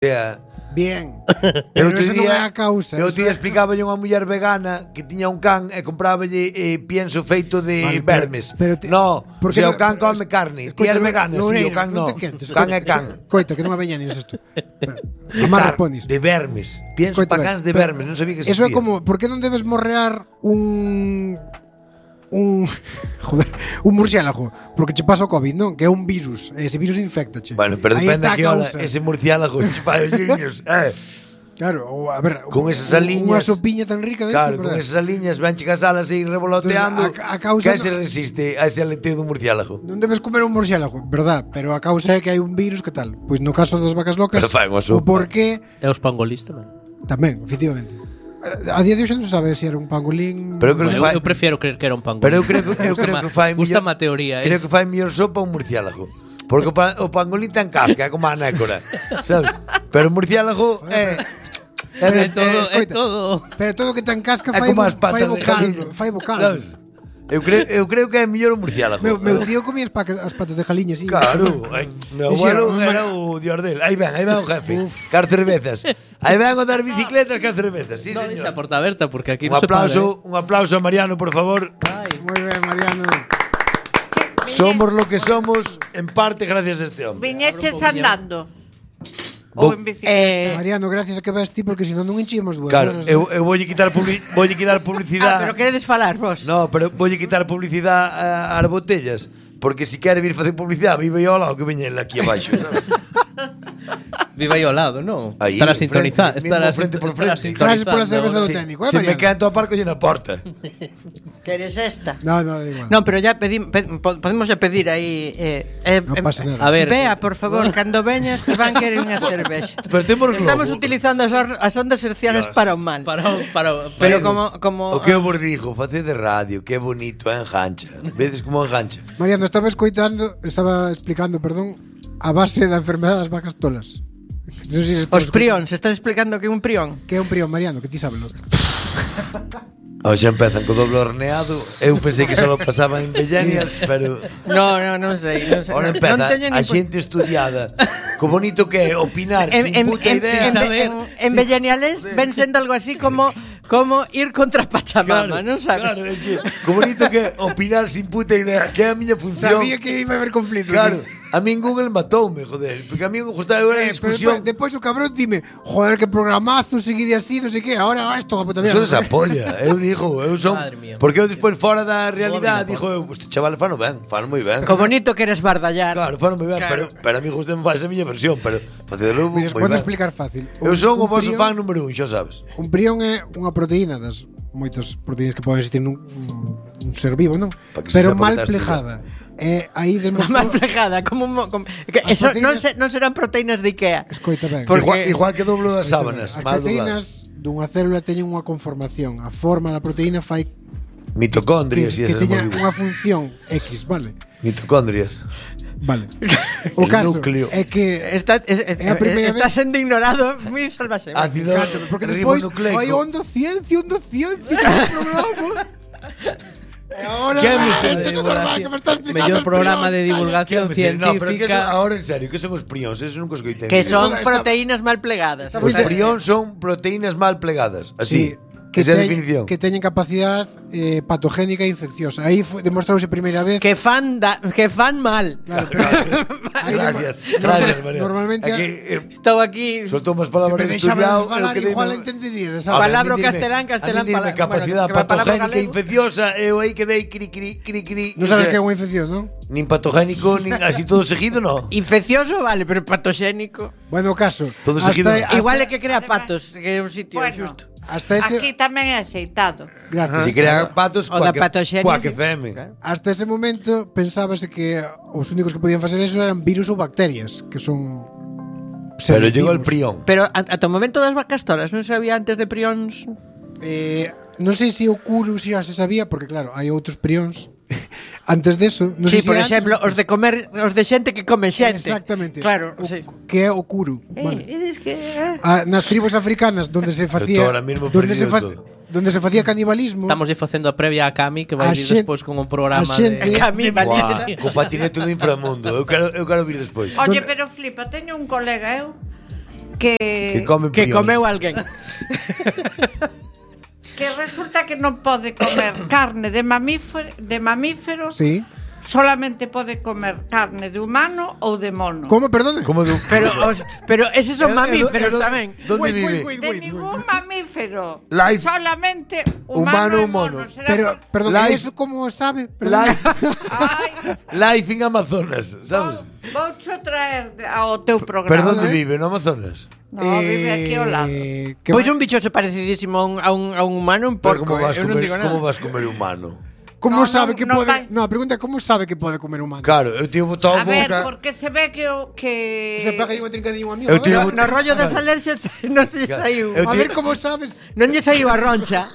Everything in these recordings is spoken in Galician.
Bien. Eu Pero eso non é a causa. Eu te explicaba unha muller vegana que tiña un can e compráballe pienso feito de vermes. No, porque o can come carne. Ti és vegana, si, o can no. O can é can. Coita, que non me veñanes isto. Amar ponis. De vermes. Pienso pa cans de vermes, non sabía que existía. Eso é como, por que non debes morrear un murciélago, porque che pasa o COVID, non? Que é un virus, ese virus infectache. Bueno, pero depende de que hora ese murciélago che fai os niños, Claro, ou a ver, con esas aliñas, unha sopiña tan rica de claro, eso, con esas aliñas ven chegas alas e revoloteando. Entonces, a causa que se resiste a ese aleteo do murciélago. Non debes comer un murciélago, verdad, pero a causa é que hai un virus, que tal? Pois no caso das vacas locas, pero fai unha sopa. O porqué E os pangolis tamén. Tamén, efectivamente. A día de hoxe non se sabe se era un pangolín. Pero eu prefiero creer que era un pangolín. Pero eu creo que fai Gusta má teoría. Creo que fai mellor sopa un murciélago. Porque o pangolín ten casca, é como a nécora, sabes? Pero o murciélago é todo. Pero todo que ten casca fai vocal. Eu creo que é mellor o murciélago. Meu tío comía as patas de jaliña, sí. Claro, meu abuelo era o dios del. Aí ven o jefe, car cervezas. Aí ven o dar bicicletas, car cervezas. Sí, señor. Non deixa a porta aberta porque aquí non se para. Un aplauso a Mariano, por favor. Moi ben, Mariano. Somos lo que somos en parte gracias a este hombre. Viñeches andando. Ou en bicicleta. Mariano, gracias a que vas ti, porque senón non enchimos 2 horas. Claro, eu voulle quitar publicidade. Pero queredes falar vos? No, pero voulle quitar publicidade ás botellas, porque se quere vir facer publicidade, vive ao lado que veñen aquí abaixo, sabes? Vive aí ao lado, non? Estará sintonizado. Estará frente por frente. Gracias pola cerveza do técnico, Se me quedan todo a parco na porta. Queres esta? No, igual. Non, pero ya podemos ya pedir aí non pasa nada. A ver, vea, por favor, cando veñas te van querer unha cervexa. Pero temos Estamos utilizando as ondas hercianas para o mal. Pero como o que eu vos digo, facer de radio, que bonito, engancha. Vedes como engancha. Mariano, estaba explicando, a base da enfermedade das vacas tolas. No sé si os prións, estás explicando que é un prión? Que é un prión, Mariano, que ti sabes. Xa empezan co doble horneado. Eu pensei que só pasaba en Bellenias, pero non sei. Ahora empeza a xente estudiada. Co bonito que é opinar sin puta idea. En Belleniales ven sendo algo así como ir contra Pachamama, non sabes? Claro, co bonito que é opinar sin puta idea, que é a miña función. Sabía que iba a haber conflito. Claro. A min Google matoume, joder, porque a mí me gustaba unha discusión. Depois o cabrón dime, joder, que programazo, seguide así, non sei que, ahora isto a puta mierda. Eso desapolla, eu digo, eu son, porque eu despois fora da realidade digo, este chaval fano moi ben. Co bonito que eres bardallar. Claro, fano moi ben, pero a mí gustame máis a miña versión, pero facedelo moi ben. Podo explicar fácil. Eu son o vosso fan número 1, xa sabes. Un prión é unha proteína das moitas proteínas que poden existir nun ser vivo, non? Pero mal plejada. Aí demostrou mal plejada, eso non serán proteínas de Ikea. Escoita ben. Igual que doblo das sábanas. As proteínas dunha célula teñen unha conformación. A forma da proteína fai mitocondrias que teña unha función X, vale? Mitocondrias. Vale. O caso é que está sendo ignorado moi salvaxe. Ácido ribonucleico. Hai onda ciencia, programa. Ahora, mellor programa de divulgación científica. Ahora en serio, que son os prións? Eso nunca escoitei. Que son proteínas mal plegadas. Os prións son proteínas mal plegadas. Así. Que teñen capacidade patogénica e infecciosa. Aí demostrouse a primeira vez que fan mal. Gracias, María. Normalmente estou aquí. Soltou unhas palabras estudiado, igual entendería. Palabra castelán, palabra. Capacidade patogénica e infecciosa, eu aí quedei cri. Non sabes que é unha infección, non? Nin patogénico, nin así todo seguido, non. Infeccioso, vale, pero patogénico. Bueno, caso. Todo seguido. Igual é que crea patos, que é un sitio xusto. Aquí tamén é aceitado. Gracias. Se crean patos coa que feme. Hasta ese momento pensábase que os únicos que podían facer eso eran virus ou bacterias, que son pero llegou el prión. Pero ata o momento das vacas tolas non sabía antes de prións. Non sei se o curu xa se sabía, porque claro, hai outros prións. Antes deso, non sei por exemplo, os de comer, os de xente que come xente. Exactamente. Claro, que é o curu. Vale. Nas tribus africanas donde se facía donde se facía canibalismo. Estamos facendo a previa a Cami que vai vir despois con un programa de Cami, co patinete do inframundo. Eu quero vir despois. Oye, pero flipa, teño un colega Que comeu alguén. Que resulta que non pode comer carne de mamífero. Sí. Solamente pode comer carne de humano ou de mono. Como, perdón? Pero eses son mamíferos tamén. Donde vive? De ningún mamífero. Life. Solamente humano ou mono. Pero, perdón, ¿eso cómo sabe? Life in Amazonas, sabes? Voucho traer ao teu programa. Pero onde vive, no Amazonas? No, vive aquí ao lado. Pois un bichoso parecidísimo a un humano, un porco. Como vas comer humano? ¿Cómo sabe que pode? No, a pregunta é como sabe que pode comer humano. Claro, eu teño botado a boca. A ver, porque se ve que se pega aí unha trincadinha a amigo. No rollo das alerxias non se saiu. A ver como sabes. Non lle saiu a roncha.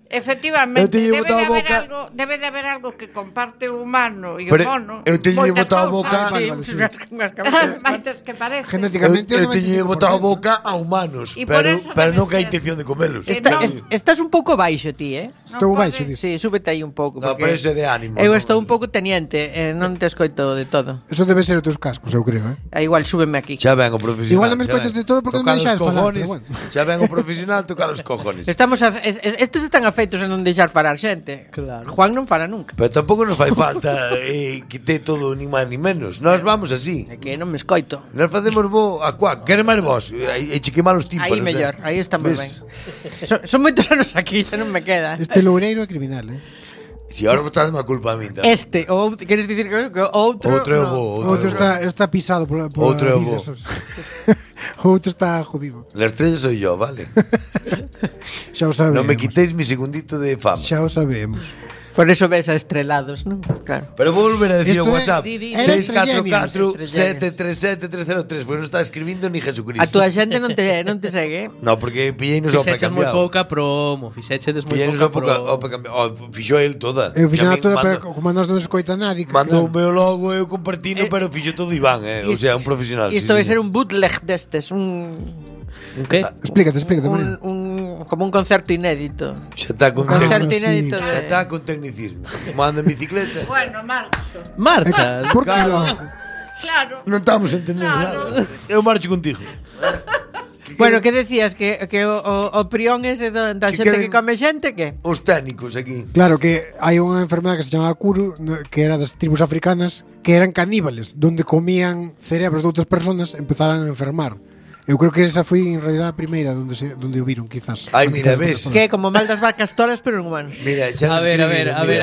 Efectivamente, debe de haber algo que comparte o humano e o mono. Eu teño botado a boca. Maites que parece. Genéticamente eu teño botado a boca a humanos, pero non que hai intención de comelos. Estás un pouco baixo ti, Estou baixo, sí, súbete aí un pouco. No, pero ese de ánimo. Eu estou un pouco teniente, non te escoito de todo. Eso debe ser os teus cascos, eu creo, Igual súbeme aquí. Xa ven o profesional. Igual non me escoitas de todo porque non me deixas falar. Xa ven o profesional tocar os cojones. Estes están afeitos a non deixar falar xente. Claro. Juan non fala nunca. Pero tampouco nos fai falta que te todo ni máis ni menos. Nós vamos así. É que non me escoito. Nós facemos bo a cuac. Quere máis vos? E chiquema os tímpanos. Aí mellor, aí estamos ben. Son moitos anos aquí, xa non me queda. Este loureiro é criminal, Si ahora botade má culpa a min tamén. Queres dicir que outro? Outro é bo. Outro está pisado por outro é bo. Outro está jodido. La estrella soy yo, vale. Xa o sabemos. Non me quitéis mi segundito de fama. Xa o sabemos. Por eso ves a estrelados, non? Claro. Pero vou volver a decir o WhatsApp 644-737-303, porque non está escribindo ni Jesucristo. A túa xente non te segue. No, porque pillei-nos ao Fixeches moi precambiado. pouca promo. Fixeches moi pouca promo. Fixo el toda. Eu fixo toda, pero como nós non escoita nadie. Mandou o meu logo, eu compartino, pero fixo todo Iván, O sea, un profesional. Isto vai ser un bootleg destes, un que? Explícate. Como un concerto inédito. Xa está con concerto inédito. Xa está con tecnicismo. Manda en bicicleta. Bueno, Marcha. Por que Claro. Non estamos entendendo nada. Eu marcho contigo. Bueno, que decías que o prión ese da xente que come xente, que? Os técnicos aquí. Claro, que hai unha enfermedade que se chamaba Kuru, que era das tribus africanas, que eran caníbales, donde comían cerebros de outras personas, empezaran a enfermar. Eu creo que esa foi en realidad a primeira donde o viron, quizás. Ai, mira, ves. Que como mal das vacas tolas, pero en humanos. Mira, a ver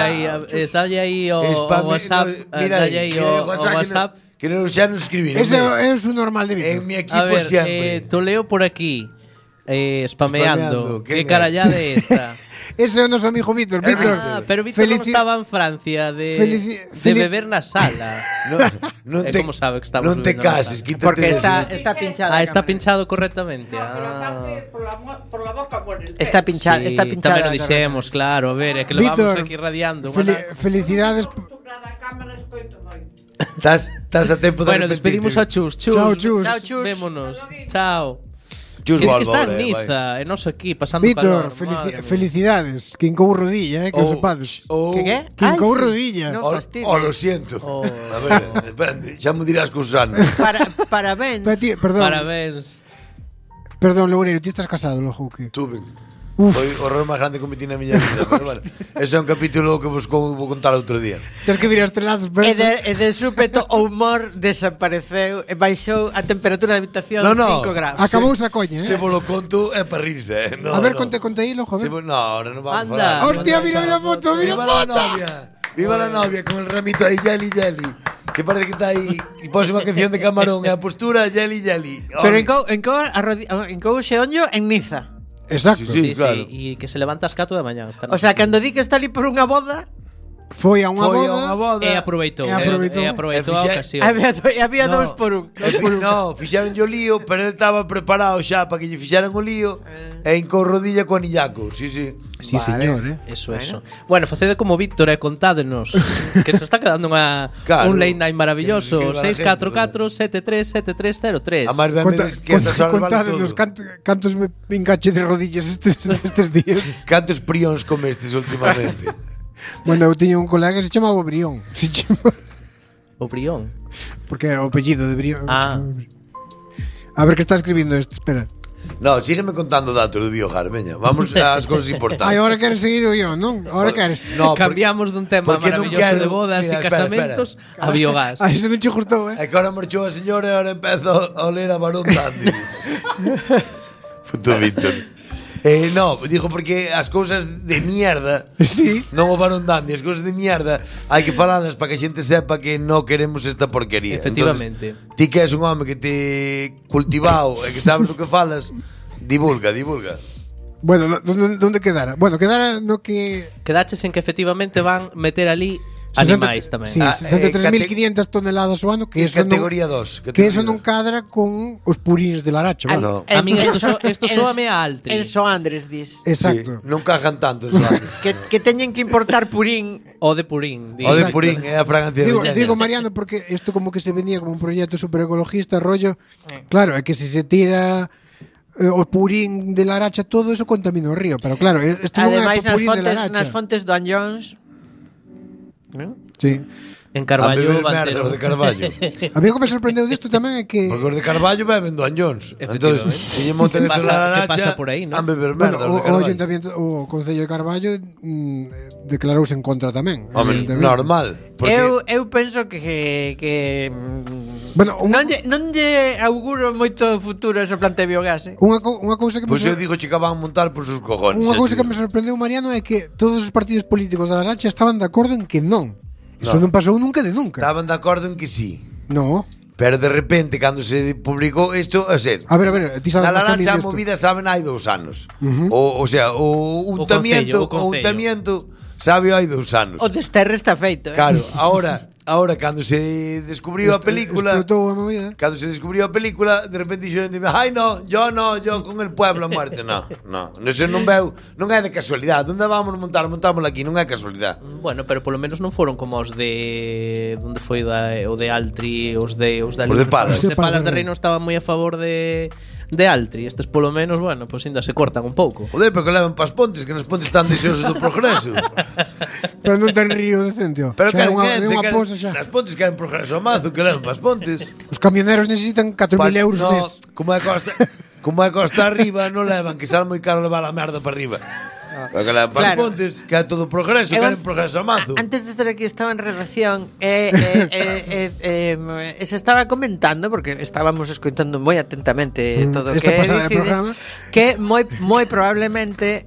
aí, dalle aí o WhatsApp, dalle aí o WhatsApp. Que xa nos escribiron. Ese é o normal de vida. En mi equipo sempre. Te leo por aquí. Spameando. Que carallada é esta? Ese é o noso amigo Víctor. Pero Víctor non estaba en Francia de beber na sala. Non te, como sabe que estamos non te cases, quítate. Porque está pinchado. Está pinchado correctamente. Por la boca muere. Está pinchado. Tamén o dixemos, claro. A ver, é que lo vamos aquí radiando. Felicidades. Estás a tempo de Bueno, despedimos a Chus. Chao, Chus. Vémonos. Chao. Que está en Niza, e nos aquí pasando Víctor, calor. felicidades. Quincou rodilla, que o sepades. Que? Quincou rodilla. No lo siento. A ver, depende. Xa me dirás con Susana. Parabéns. Perdón. Parabéns. Perdón, Loureiro, ti estás casado, logo que? Tuve. Foi o horror máis grande que cometí na miña vida, pero bueno, ese é un capítulo que vos vou contar outro día. Tens que vir a estrelados, pero e de súpeto o humor desapareceu e baixou a temperatura da habitación 5 graus. Acabou esa coña, Se vos lo conto é para rirse, No, a ver, conte hilo, joder. No, ahora non vamos a falar. Hostia, mira a foto, mira a foto. Viva la novia con el ramito ahí, Yeli. Que parece que está aí e pose unha canción de Camarón e a postura Yeli. Pero encou xeonllo en Niza. Exacto. Sí, claro. E que se levanta ás 4 da mañá. O sea, cando di que está ali por unha boda, foi a unha boda e aproveitou a ocasión. Había 2 por 1. No, fixeron yo lío, pero ele estaba preparado xa para que lle fixeran o lío e encou rodilla co anillaco. Sí, vale. Señor, Eso. Bueno, facede como Víctor e contádenos que se está quedando un late night maravilloso. 644-737303. A máis ben que estas horas vale todo. Cantos me pincache de rodillas estes días. Cantos prións comestes últimamente. Bueno, eu tiña un colega que se chamaba o Brión. O Brión? Porque era o apellido de Brión. A ver que está escribindo este, espera. No, sígueme contando datos do biogar, veña. Vamos ás cousas importantes. Ai, agora queres seguir o yo, non? Agora queres. No, cambiamos dun tema maravilloso de bodas e casamentos a biogás. Ai, iso non che gustou, É que ahora marchou a señora e ahora empezo a oler a Barón Dandy. Puto Víctor. No, digo porque as cousas de mierda, sí. Non o Barón Dandy, as cousas de mierda hai que falalas para que a xente sepa que non queremos esta porquería. Efectivamente. Entonces, ti que és un home que te cultivao e que sabes o que falas, divulga. Bueno, ¿dónde quedara? Bueno, quedara no que... Quedaches en que efectivamente van meter ali animais tamén. Sí, 63.500 toneladas o ano, que eso categoría 2. Que eso non cadra con os purins de Laracha, no. A min isto soame a Altri. En Soandres, dis. Exacto. Sí, non cajan tanto en Soandres. que teñen que importar purín. O de purín. O de purín, é a fragancia de digo, Mariano, porque isto como que se venía como un proxecto super ecologista, rollo. Claro, é que se tira o purín de Laracha, todo eso contamina o río. Pero claro, isto non é o purín de Laracha. Nas fontes do Anllóns, ¿no? Sí. En Carballo van ter de Carballo. A mí o que me sorprendeu disto tamén é que porque os de Carballo beben do Anllóns. Entón, se lle monten esta Laracha, que pasa por aí, ¿no? Han beber merda o Ayuntamiento, o Concello de Carballo declarouse en contra tamén. Hombre, normal. Eu penso que bueno, non lle auguro moito futuro ese plante de biogás. Unha cousa que Pois eu digo que van montar por sus cojones. Unha cousa que me sorprendeu, Mariano, é que todos os partidos políticos da Laracha estaban de acordo en que non. Eso non pasou nunca de nunca. Estaban de acordo en que sí. No. Pero de repente, cando se publicou isto, a ser, a ver, ti sabes na Laracha a movida saben hai 2 anos. O sea, o untamiento sabe hai 2 anos. O desterre está feito. Claro, ahora cando se descubriu a película, cando se descubriu a película, de repente dixo, "Ai no, yo con el pueblo a muerte." No, eso non veu, non é de casualidade. Onde vamos montámoslo aquí, non é casualidade. Bueno, pero polo menos non foron como os de onde foi o de Altri, os de Palas. Os de Palas de Reino estaban moi a favor de Altri. Estes polo menos, bueno, pois ainda se cortan un pouco. Joder, pero que levan pas pontes, que nos pontes están deseosos do progreso. Pero non ten río decente, ó. Pero que nas pontes queren progreso a mazo, que levan pas pontes. Os camioneros necesitan 4.000 euros mes. Como é costa arriba, non levan, que sale moi caro levar a merda para arriba. Porque que levan pas pontes, que é todo progreso, queren progreso a mazo. Antes de estar aquí estaba en redacción se estaba comentando, porque estábamos escoitando moi atentamente todo o que programa, que moi probablemente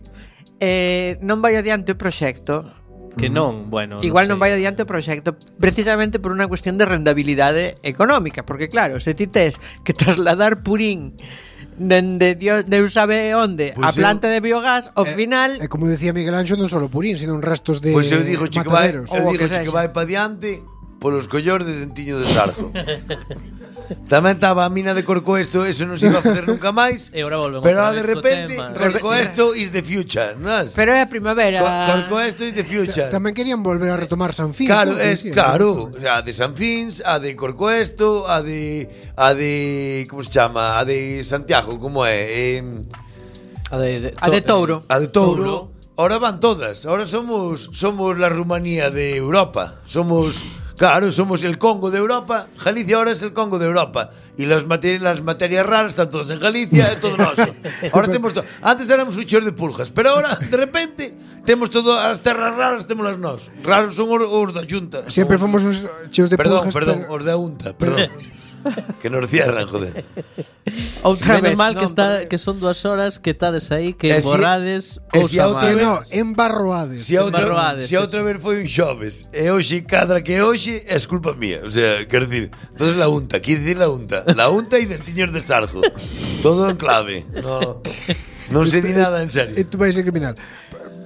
non vai adiante o proxecto. Que non, bueno, igual non vai adiante o proxecto precisamente por unha cuestión de rendabilidade económica, porque claro, se ti tes que trasladar purín dende Deus sabe onde a planta de biogás, ao final como decía Miguel Anxo, non só purín, sino restos de pois eu digo que vai para diante polos collores de Dentiño de Sarzo. Tamén estaba a mina de Corcoesto, eso non se iba a facer nunca máis. Pero de repente Corcoesto is the future, non? Pero é a primavera. Corcoesto is the future. Tamén querían volver a retomar San Fins. Claro, a de San Fins, a de Corcoesto, a de como se chama, a de Santiago, como é? A de Touro. A de Touro. Ahora van todas. Ahora somos la Rumanía de Europa. Somos el Congo de Europa. Galicia ahora es el Congo de Europa. Y las materias raras están todas en Galicia, es todo noso. Ahora tenemos todo. Antes éramos un chor de pulgas, pero ahora, de repente, temos todo, as terras raras temos las nós. Raros son os da Xunta. Siempre fomos uns cheos de pulgas. Perdón, os da Unta, perdón. Que nos cierran, joder. Outra vez mal que son 2 horas que estades aí, que emborrades cousa mal. Embarroades. Se outra vez foi un xoves e hoxe cadra que hoxe é culpa mía. O sea, quero dicir, entonces la Unta, quero dicir la Unta e Dentiños de Sarzo. Todo en clave. Non se di nada en serio. Tú vais ser criminal.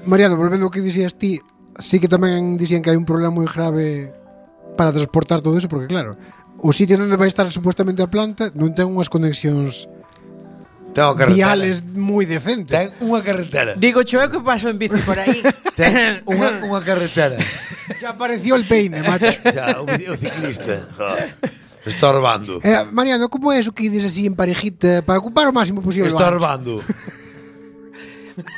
Mariano, volvendo ao que dixías ti, sí que tamén dixían que hai un problema moi grave para transportar todo eso, porque claro, o sitio onde vai estar supuestamente a planta non ten unhas conexións viales moi decentes. Ten unha carretera. Digo, eu que paso en bici por aí. Ten unha carretera. Ya apareció el peine, macho. Xa, o ciclista. Estorbando. Mariano, como é eso que dices así en parejita para ocupar o máximo posible? Estorbando.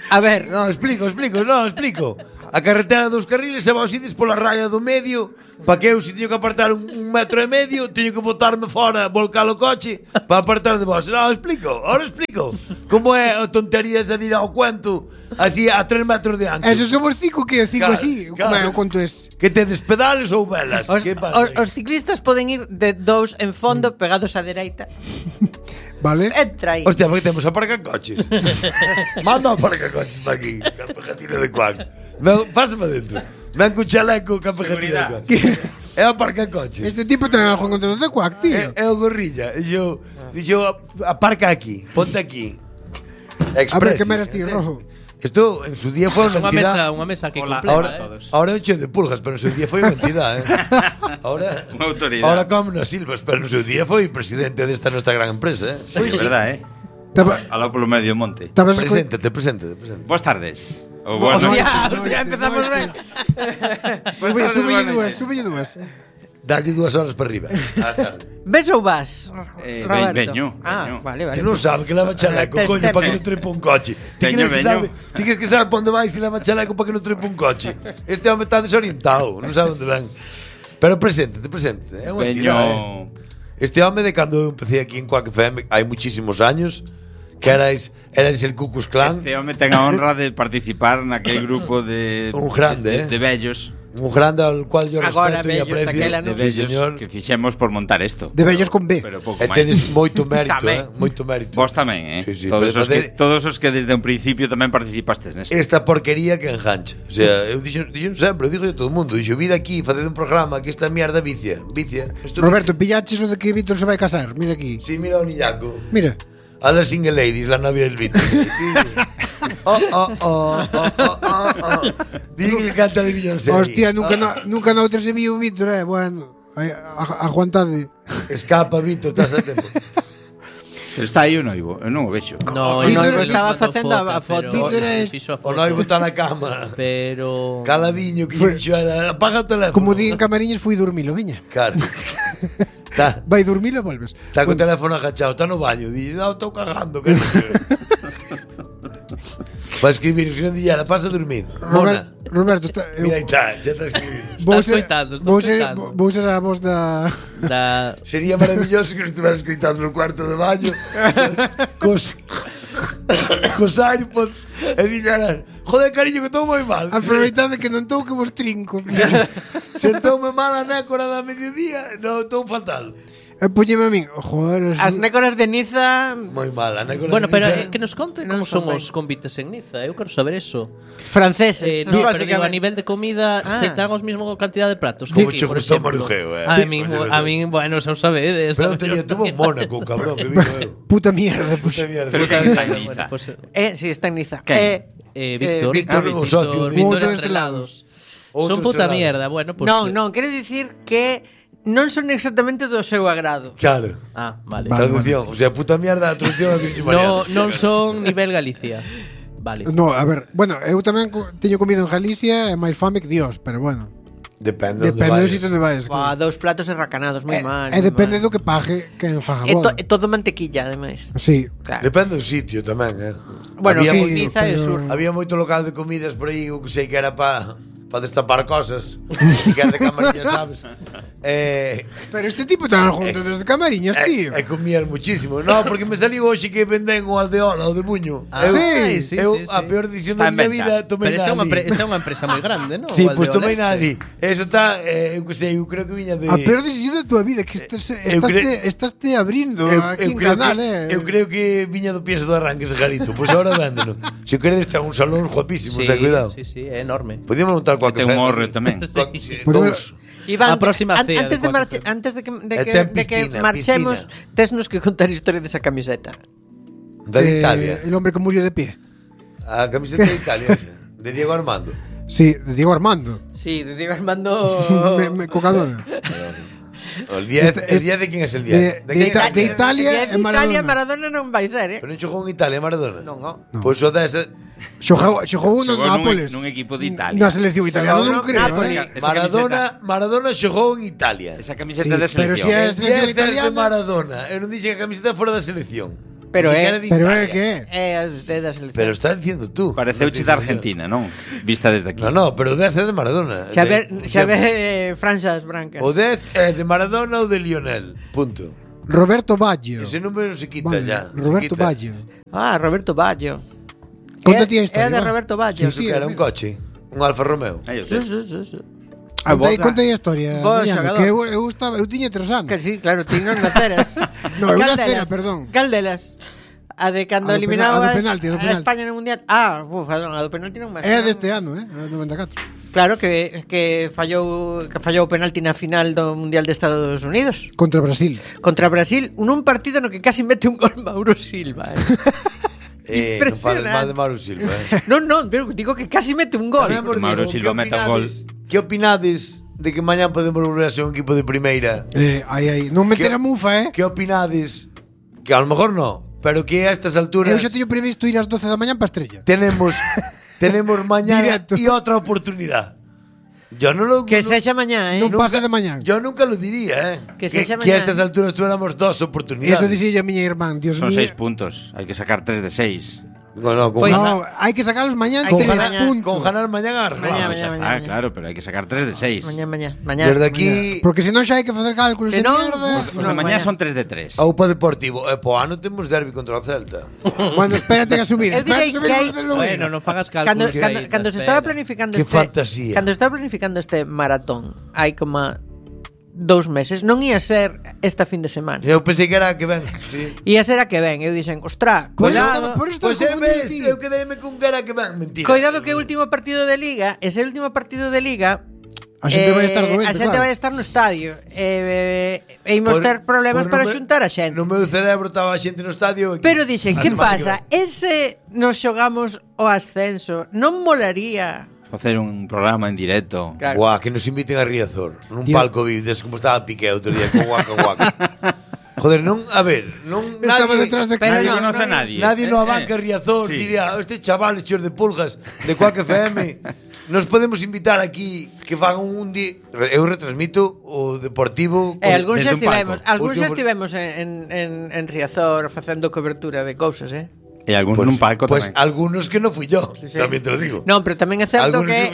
A ver, explico. a carretera dos carriles e vos ides pola raya do medio, para que eu, se teño que apartar un metro e medio, teño que botarme fora, volcar o coche para apartar de vos. Ahora explico como é a tonterías de ir ao cuento así a 3 metros de ancho. Eso somos 5 que 5 así, como é o conto es. Que tedes pedales ou velas? Os ciclistas poden ir de 2 en fondo pegados á dereita. Vale. Entra aí. Hostia, porque temos aparcacoches. Manda aparcacoches para aquí, ca pegatina de cuac. Pásame dentro. Ven con chaleco, ca pegatina de cuac. É aparcacoches. Este tipo ten algo en contra de cuac, tío. É o gorrilla. Dixo, aparca aquí, ponte aquí. A ver, que meras ti, Rojo. Esto en su día foi unha entidade. Unha mesa que completa, Ahora é un che de pulgas, pero en su día foi unha entidade, Ahora unha autoridade. Ahora come nas silvas, pero en su día foi presidente desta nosa gran empresa, Sí, é verdade, Alá polo medio monte. Preséntate. Boas tardes. Hostia, empezamos ben. Súbelle dúas. Dalle 2 horas para arriba. Ves ou vas, Roberto? Veño. Vale. Que non sabe que leva chaleco, coño, para que non trepa un coche. Ti crees que sabe para onde vai se leva chaleco para que non trepa un coche. Este home está desorientado, non sabe onde ven. Pero preséntate. É unha entidade. Este home de cando eu empecé aquí en Quack FM hai muchísimos años, que erais el Ku Klux Klan. Este home ten a honra de participar naquel grupo de un grande, de vellos. Un grande al cual yo respeto e aprecio. De vellos que fixemos por montar isto. De vellos con B. E tedes moito mérito, moito mérito. Vos tamén, Sí, todos os que desde un principio tamén participastes nesto. Esta porquería que engancha. O sea, eu dixo sempre, eu digo a todo o mundo, dixo, vida aquí, faced un programa, que esta mierda vicia. Roberto, pillaches o de que Víctor se vai casar, mira aquí. Sí, mira o niñaco. Mira. A la single ladies, la novia del Víctor. Dile que canta de Beyoncé. Hostia, nunca noutra se viu Víctor, bueno. Aguantade. Escapa, Víctor, estás a tempo. Pero está aí o noivo, eu non o vexo. No, o noivo estaba facendo a foto. O noivo está na cama. Pero caladiño, que dixo era, apaga o teléfono. Como di en Camariñas, fui dormilo, viña. Claro. Vai dormilo e volves. Está co teléfono agachado, está no baño. Dice, no, estou cagando, cariño. Para escribir, se non dilla, pasa a dormir. Roberto, mira aí está, xa está escribindo. Vou ser a voz da... Sería maravilloso que nos estuvera escoitando no cuarto de baño cos AirPods e digan, joder, cariño, que estou moi mal. Aproveitade que non estou que vos trinco. Sentoume mal a nécora da mediodía. Non, estou fatal. Póñeme a min, joder. As nécoras de Niza moi mal, a nécora. Bueno, de Niza. pero que nos conten como son os convites en Niza. Eu quero saber eso. Franceses. No, pero digo, a nivel de comida se dan os mesmos cantidad de pratos. Como che gustou Marujeo, A min, bueno, xa o sabedes. Pero tuvo Mónaco, cabrón, que vivo eu. Puta mierda, Pero está en Niza. Sí, está en Niza. Víctor, un socio. Víctor Estrelados. Son puta mierda, bueno, pues... Non, quere dicir que non son exactamente do seu agrado. Claro. Vale. Traducción, o sea, puta mierda, a traducción non son nivel Galicia. Vale. No, a ver, bueno, eu tamén teño comido en Galicia e máis fame que Dios, pero bueno. Depende do sitio onde vais. 2 platos enracanados, moi mal. E depende do que pague quen faga boda. É todo mantequilla, ademais. Sí. Claro. Depende do sitio tamén, Bueno, sí, Niza é sur. Había moito local de comidas por aí, que sei que era para destapar cosas. E que era de Camariñas, sabes? Pero este tipo ten algo contra dos de Camariñas, tío. E comían muchísimo. No, porque me saliu hoxe que venden o Aldeola, o de Buño. Sí. A peor decisión da miña vida tomei na ali. Pero esa é unha empresa moi grande, non? Sí, pues tomei na ali. Eso está, eu que sei, eu creo que viña de... A peor decisión da tua vida, que estás te abrindo aquí en canal, Eu creo que viña do pienso de arranque ese garito. Pois agora véndeno. Se queredes, ten un salón guapísimo, cuidado. Sí, é enorme. Podíamos montar Ten un horre tamén. Iván, a próxima cea antes de que marchemos, tesnos que contar a historia desa camiseta. Da de Italia. El hombre que murió de pie. A camiseta de Italia, de Diego Armando. Sí, de Diego Armando. Sí, de Diego Armando. Cocadona. El 10 de quién es el 10? De Italia e Maradona. Maradona non vai ser, Pero non xogou en Italia Maradona? Non. Pois o dese xogou no Nápoles. Nun equipo de Italia. Na selección italiana non creo, Maradona xogou en Italia. Esa camiseta de selección. Pero se é a selección italiana italiana de Maradona. Eu non dixen que a camiseta fora da selección. Pero é que é da selección. Pero está dicindo tú. Pareceuche da Argentina, non? Vista desde aquí. No, pero o 10 é de Maradona. Xa ve franxas brancas. O 10 é de Maradona ou de Lionel. Punto. Roberto Baggio. Ese número se quita ya. Roberto Baggio. Roberto Baggio. Conta ti a historia. É de Roberto Baggio. Sí, era un coche. Un Alfa Romeo. Sí. Conta a historia, Mariano, que eu tiña 3 anos. Que sí, claro, tiñas naceras. No, eu nacera, perdón. Cal delas? A de cando eliminaba a do España no Mundial. A do penalti non me. É deste ano, a 94. Claro que fallou o penalti na final do Mundial de Estados Unidos contra Brasil. Contra Brasil, nun partido no que casi mete un gol Mauro Silva. Non fales mal de Mauro Silva. Non, pero digo que casi mete un gol. Mauro Silva mete un gol. Que opinades de que mañán podemos volver a ser un equipo de primeira? Non meter a mufa, Que opinades? Que a lo mejor no, pero que a estas alturas eu xa teño previsto ir ás 12 da mañá para Estrella. Tenemos mañana y otra oportunidad. Yo no lo que sexa mañá, Non pasa de mañá. Yo nunca lo diría, Que sexa mañá. Que a estas alturas tuéramos 2 oportunidades. Eso dixille a miña irmán, Dios mío. Son 6 puntos, hai que sacar 3 de 6. No, hai que sacarlos mañán con 3 puntos. Con ganar mañana mañá, claro, pero hai que sacar 3 de 6. Mañá. Desde aquí, porque senón xa hai que facer cálculos de mierda. Os de mañá son 3 de 3. Aupa Deportivo, po ano temos derbi contra o Celta. Bueno, espérate a subir. Bueno, non fagas cálculos. Cando se estaba planificando este maratón, hai como 2 meses, non ia ser esta fin de semana. Eu pensei que era a que ven, sí. Ia ser a que ven, eu dixen, ostra, cuidado. Eu quedeime con que era a que ven, mentira. Cuidado que o último partido de Liga, ese último partido de Liga, a xente vai estar doente, a xente vai estar no estadio. E imos ter problemas para xuntar a xente. No meu cerebro estaba a xente no estadio. Pero dixen, que pasa? Ese nos xogamos o ascenso, non molaría facer un programa en directo. Claro. Guau, que nos inviten a Riazor nun palco vives como estaba Piqué outro día con Waka. Joder, non, a ver, non estaba detrás de nadie conoce a nadie. Nadie no abanca Riazor diría, este chaval chor de pulgas de Quack FM. Nos podemos invitar aquí que fagan un día. Eu retransmito o Deportivo. Algúns xa estivemos en Riazor facendo cobertura de cousas, E algúns nun palco tamén. Pues algunos que non fui yo, tamén te lo digo. Non, pero tamén é certo que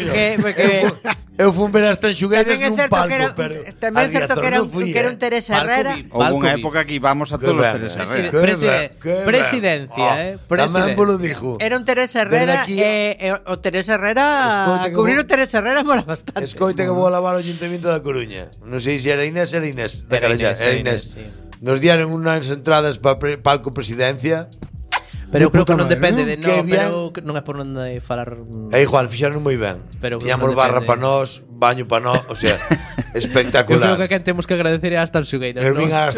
eu fui ver as Tanxugueiras nun palco, pero tamén é certo que era un Teresa Herrera. Houve unha época que íbamos a todos os Teresa Herrera. Presidencia, tamén polo dixo. Era un Teresa Herrera e o Teresa Herrera, cubrir o Teresa Herrera mola bastante. Escoita que vou lavar o Ayuntamiento da Coruña. Non sei se era Inés. Era Inés. Nos dieron unhas entradas para palco presidencia. Pero eu creo que non depende de pero non é por non de falar. É igual, fixaron moi ben. Tiñamos barra para nós, baño para nós, o sea, espectacular. Eu creo que quen temos que agradecer é as Tanxugueiras. Eu vin as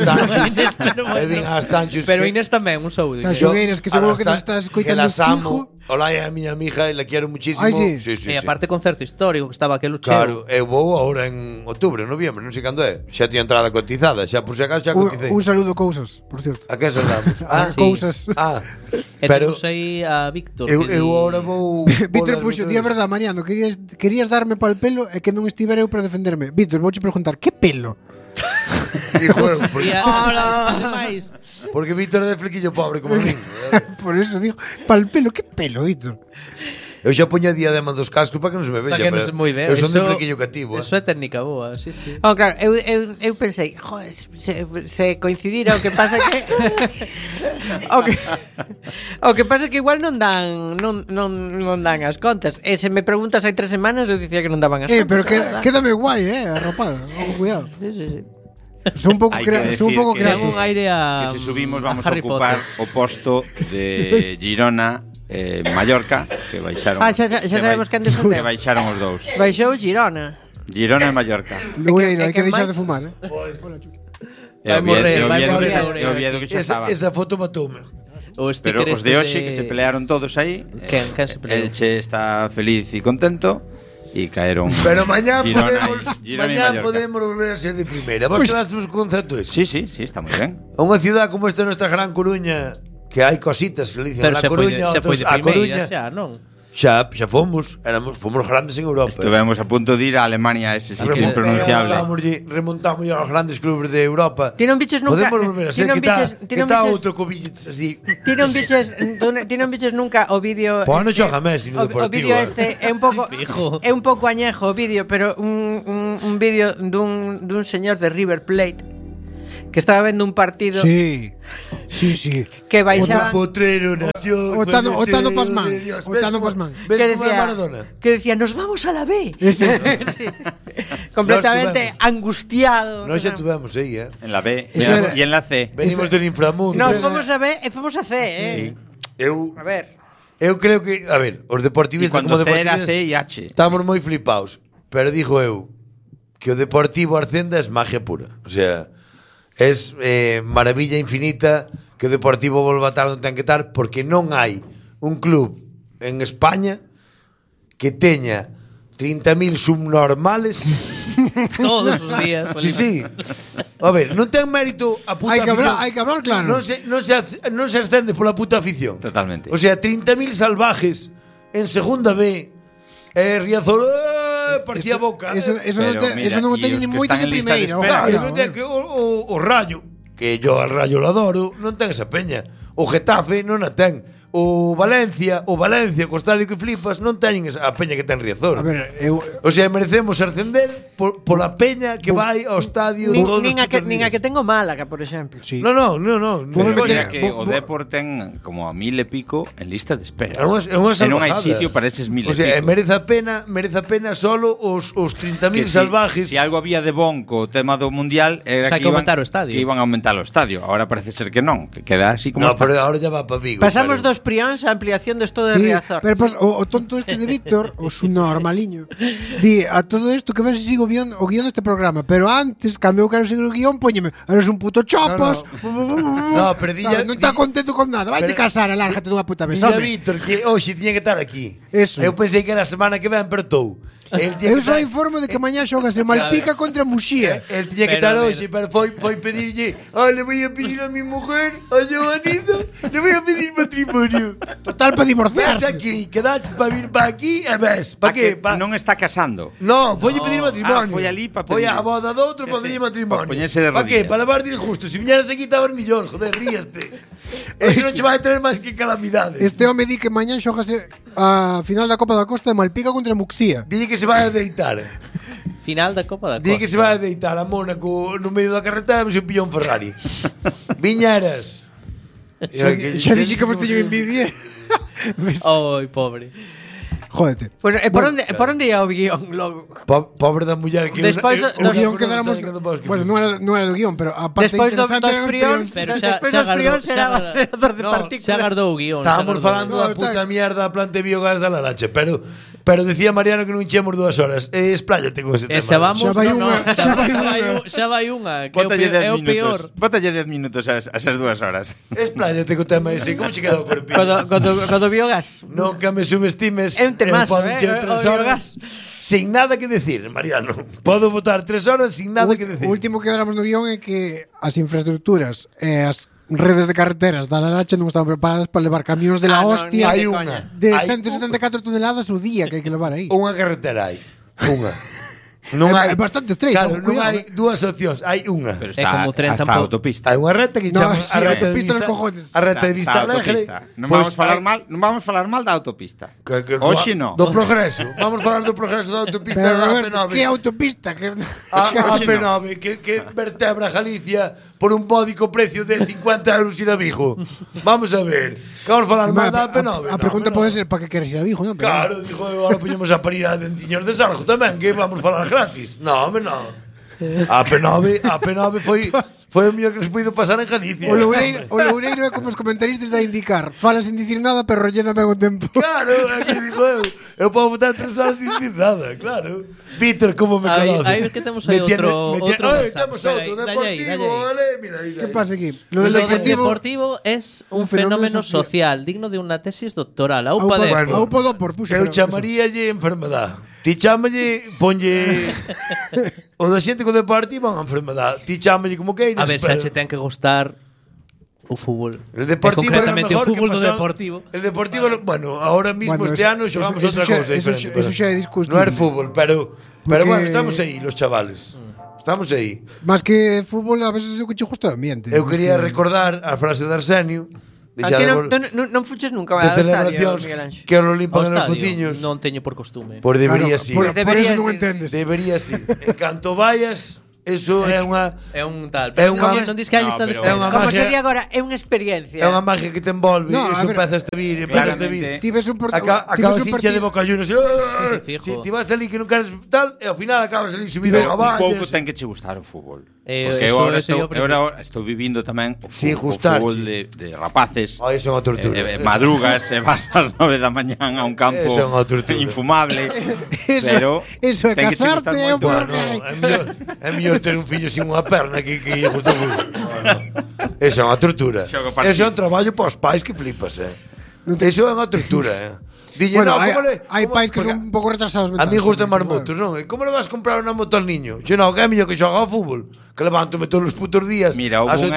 Tanxus. Pero Inés tamén, un saúdo. Tanxugueiras, que seguro que nos estás escoitando fijo. Hola, é a miña amiga e la quero muchísimo. Sí. E aparte concerto histórico que estaba aquel cheo. Claro, eu vou agora en outubro, noviembre, non sei cando é. Xa tiña entrada cotizada, xa por si acaso xa coticei. Un saludo Cousas, por certo. A que saudamos? Cousas. Pero sei a Víctor. Eu agora vou Víctor puxo, di a verdade, Mariano, querías darme pal pelo e que non estivera eu para defenderme. Víctor, vouche preguntar, que pelo? Porque Víctor é de flequillo pobre como min. Por eso digo, pal pelo, que pelo, Víctor? Eu xa poño a diadema dos cascos para que non se me vexa. Para que non se moi ben. Eu son de flequillo cativo. Eso é técnica boa, sí. Claro, eu pensei, joder, se coincidira o que pasa que o que pasa que igual non dan as contas. E se me preguntas hai 3 semanas eu dicía que non daban as contas. Pero quédame guai, arropada. Cuidado. Sí. Son un pouco creativos. Un aire a que se subimos vamos a ocupar o posto de Girona Mallorca, que baixaron. Xa sabemos que antes que baixaron os dous. Baixou Girona e Mallorca. Lugueiro, hai que deixar de fumar, Vai morrer. Esa foto matoume. Pero os de hoxe que se pelearon todos aí. Quen se peleou? Elche está feliz e contento. E caeron. Pero mañá podemos volver a ser de primeira. Vos quedásemos con concepto ese? Sí, está moi ben. Unha ciudad como esta nuestra Gran Coruña, que hai cositas que le dicen a La Coruña, se foi de primeira xa, non? Xa fomos grandes en Europa. Estivemos a punto de ir a Alemania, ese sí que é impronunciable. Remontamos aos grandes clubes de Europa. Ti non biches nunca. Podemos volver a ser que está outro cobilles así. Ti non biches nunca o vídeo. Pois non xoga Messi no Deportivo. O vídeo este é un pouco añejo o vídeo, pero un vídeo dun señor de River Plate que estaba vendo un partido. Sí. Que baixaba Potrero nació. Otano Pasman. Que decía, nos vamos a la B. Sí. Completamente angustiado. Nós xa tuvemos aí, En la B e en la C. Venimos del inframundo. No, fomos a B e fomos a C, Sí. A ver. Eu creo que, os deportivistas como deportivistas C e H. estamos moi flipados, pero digo eu que o Deportivo Arcenda es magia pura. O sea, es maravilla infinita que o Deportivo volva a estar onde ten que estar, porque non hai un club en España que teña 30.000 subnormales todos os días. Sí. A ver, non ten mérito a puta afición. Hai que hablar claro. Non se ascende pola puta afición. Totalmente. O sea, 30.000 salvajes en segunda B, Riazor parecía Boca. Eso non teñen nin moitos de primeira. Non ten que o Rayo, que yo al Rayo lo adoro, non ten esa peña. O Getafe non a ten. O Valencia, co estadio que flipas, non teñen a peña que ten Riazor. A ver, o sea, merecemos ascender pola peña que vai ao estadio. Nin a que tengo Málaga, por exemplo. Sí. No. Que o Depor ten como a 1.000 e pico en lista de espera. É unha salvajada. E non hai sitio para eses 1.000 e pico. O sea, merece a pena solo os 30.000 salvajes. Si algo había de bon co tema do Mundial era que aumentar o estadio. Que iban a aumentar o estadio. Ahora parece ser que non, que queda así como está. Pero ahora ya va para Vigo. Pasamos dos prións a ampliación do estado de Riazor. Pero pues, o tonto este de Víctor, o su normaliño, di a todo isto que ves sigo o guión deste programa, pero antes, cando eu quero seguir o guión, póñeme, eres un puto chopos. No, pero dilla, non está contento con nada. Vaite casar, alárgate dunha puta vez. Dilla Víctor que hoxe tiña que estar aquí. Eso. Eu pensei que era a semana que ven, pero estou. Eu só informo de que mañá xogas de Malpica contra Muxía. El tiña que estar hoxe, pero foi pedirlle, le voy a pedir a mi mujer, a Joanita, le voy a pedir matrimonio. Total, para divorciarse. Ves aquí, quedaches para vir para aquí e ves, para que? Non está casando. No, foi a pedir matrimonio. Foi ali para pedir. Foi a boda do outro para pedir matrimonio. Para poñerse de rodillas. Para que? Para lavar disgusto. Si viñeras aquí estabas millón, joder, ríaste. Eso non che vai traer máis que calamidades. Este home di que mañá xogase a final da Copa da Costa de Malpica contra Muxía. Dille que se vai a deitar. Final da Copa da Costa. Dille que se vai a deitar a Mónaco no medio da carretera e se pilla un Ferrari. Viñeras. Xa dixi que vos teño envidia. Ai, pobre. Jódete. Pues, por onde ia o guión logo? Pobre da muller que despois o guión quedáramos. Bueno, non era do guión, pero a parte despois interesante dos prións, pero despois dos prións era acelerador de partículas. Xa agardou o guión. Estábamos falando da puta mierda a planta de biogás da Larache, pero decía Mariano que non chemos 2 horas. Esplállate con ese tema. Xa vamos, xa vai unha, que é o peor. Bótalle 10 minutos a esas 2 horas. Esplállate co tema ese, como che queda o corpinho? Codo biogás. Non que me subestimes. Temazo, poden 3 horas sin nada que decir, Mariano. Podo botar 3 horas sin nada que decir. O último que dáramos no guión é que as infraestructuras e as redes de carreteras da Larache non estaban preparadas para levar camións de la hostia de 174 toneladas o día que hai que levar aí. Unha carretera hai. Unha. Non hai, é bastante estreito. Claro, non hai dúas opcións, hai unha. Pero está, como 30 hasta autopista. Hai unha reta que chama a reta de vista. A reta de vista alegre. Non vamos falar mal da autopista. Hoxe non. Do progreso. Vamos falar do progreso da autopista da AP9. Que autopista? A AP9 que vertebra Galicia por un módico precio de 50 euros ir a Vigo. Vamos a ver. Que vamos falar mal da AP9. A pregunta pode ser para que queres ir a Vigo, non? Claro, dijo, agora poñemos a parir a Dentiños de Sarjo tamén, que vamos falar gratis. No, hombre, no. A P9 foi o mellor que nos puido pasar en Galicia. O Loureiro é como os comentaristas da indicar. Fala sin dicir nada, pero rollena ben o tempo. Claro, aquí digo eu podo botar 3 horas sin dicir nada, claro. Víctor, como me conoces? Aí que temos aí outro temos outro Deportivo, vale? Mira, aí. Que pasa aquí? Lo del Deportivo es un fenómeno social digno de unha tesis doctoral. Aupa eu chamaríalle enfermedade. Ti chámalle, ponlle o da xente co Deportivo unha enfermedade. Ti chámalle como queiras. A ver, xa che ten que gustar O fútbol. El Deportivo concretamente era o fútbol do pasó, Deportivo. El Deportivo, bueno, ahora mismo este ano xogamos outra cousa diferente. Eso xa é discusible. Non é fútbol, pero bueno, estamos aí, los chavales. Estamos aí. Más que fútbol, a veces é o que che gusta o ambiente. Eu quería recordar a frase de Arsenio. Aquí non fuches nunca a celebracións que lo limpan nos fociños. Non teño por costume. Por debería sí. Por eso non entendes. Debería sí. En canto vayas, eso é unha tal. Pero non dis que hai lista de espera. Como se di agora, é unha experiencia. É unha magia que te envolve, eso empezas a vir, Tives un acabas hincha de bocallunos. Si ti vas ali que non queres tal, e ao final acabas ali subido a vallas. Pouco ten que che gustar o fútbol. Porque agora estou vivindo tamén o fútbol de rapaces. Eso é unha tortura. Madrugas e vas ás 9 da mañán a un campo infumable. Pero eso é casarte é un é mellor ter un fillo sin unha perna que lle gusta o fútbol. Eso é unha tortura. Eso é un traballo para os pais que flipas, Eso é unha tortura, Bueno, hai pais que son un pouco retrasados mentais. A mí gustan máis motos, non? Como le vas a comprar unha moto al niño? Xe non, que é mellor que xoga ao fútbol, que levántome todos os putos días. Mira, houve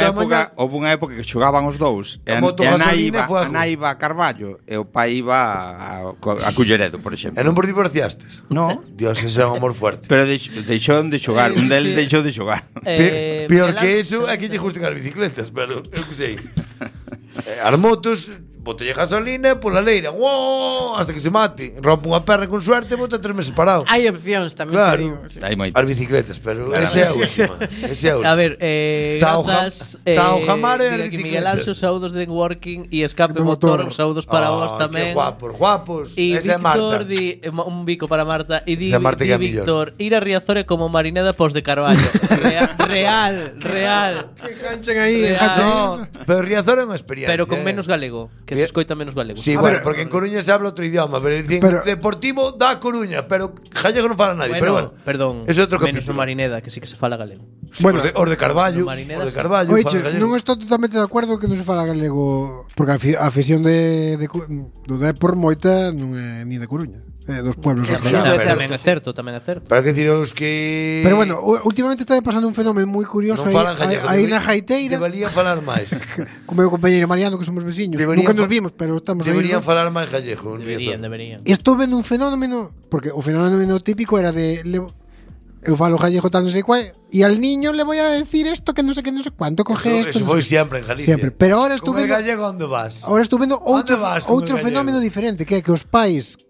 unha época que xogaban os dous. E a nai iba a Carballo e o pai iba a Culleredo, por exemplo. E non por divorciastes? No. Dios, ese é un amor fuerte. Pero deixou de xogar, un deles deixou de xogar. Peor que eso é que lle gusten as bicicletas, pero eu que sei. As motos, botelle gasolina pola leira, hasta que se mate. Rompe unha perna con suerte, bota 3 meses parado. Hai opcións tamén. Claro, as bicicletas, pero esa é a última. A ver, grazas Miguel Anxo, saúdos de Working e Escape Motor, saúdos para vos tamén. Guapos. Esa é Marta. Un bico para Marta. E di Víctor, ir a Riazor é como Marineda pos de Carballo. Real. Que ganchen aí. Pero Riazor é unha experiencia. Pero con menos galego. Que se escoita menos galego. Sí, bueno, porque en Coruña se habla outro idioma, pero dicen Deportivo da Coruña, pero gallego non fala nadie, pero bueno. Perdón. É outro menos capítulo. no Marineda, que sí que se fala galego. Bueno, os de Carballo, Oiche, non estou totalmente de acordo que non se fala galego, porque a afición do Depor moita non é ni de Coruña. Dos pueblos tamén é certo. Para que deciros que Pero bueno, últimamente está pasando un fenómeno moi curioso aí na Jaiteira. Deberían falar máis. Como meu compañeiro Mariano, que somos veciños. Nunca nos vimos, pero estamos aí. Deberían falar máis gallego. Deberían. Estou vendo un fenómeno, porque o fenómeno típico era de eu falo gallego tal non sei cual e al niño le voy a decir esto que non sei cuánto coge esto. Eso foi sempre en Galicia. Siempre, pero ahora estou vendo gallego onde vas. Ahora estou vendo outro fenómeno diferente, que é que os pais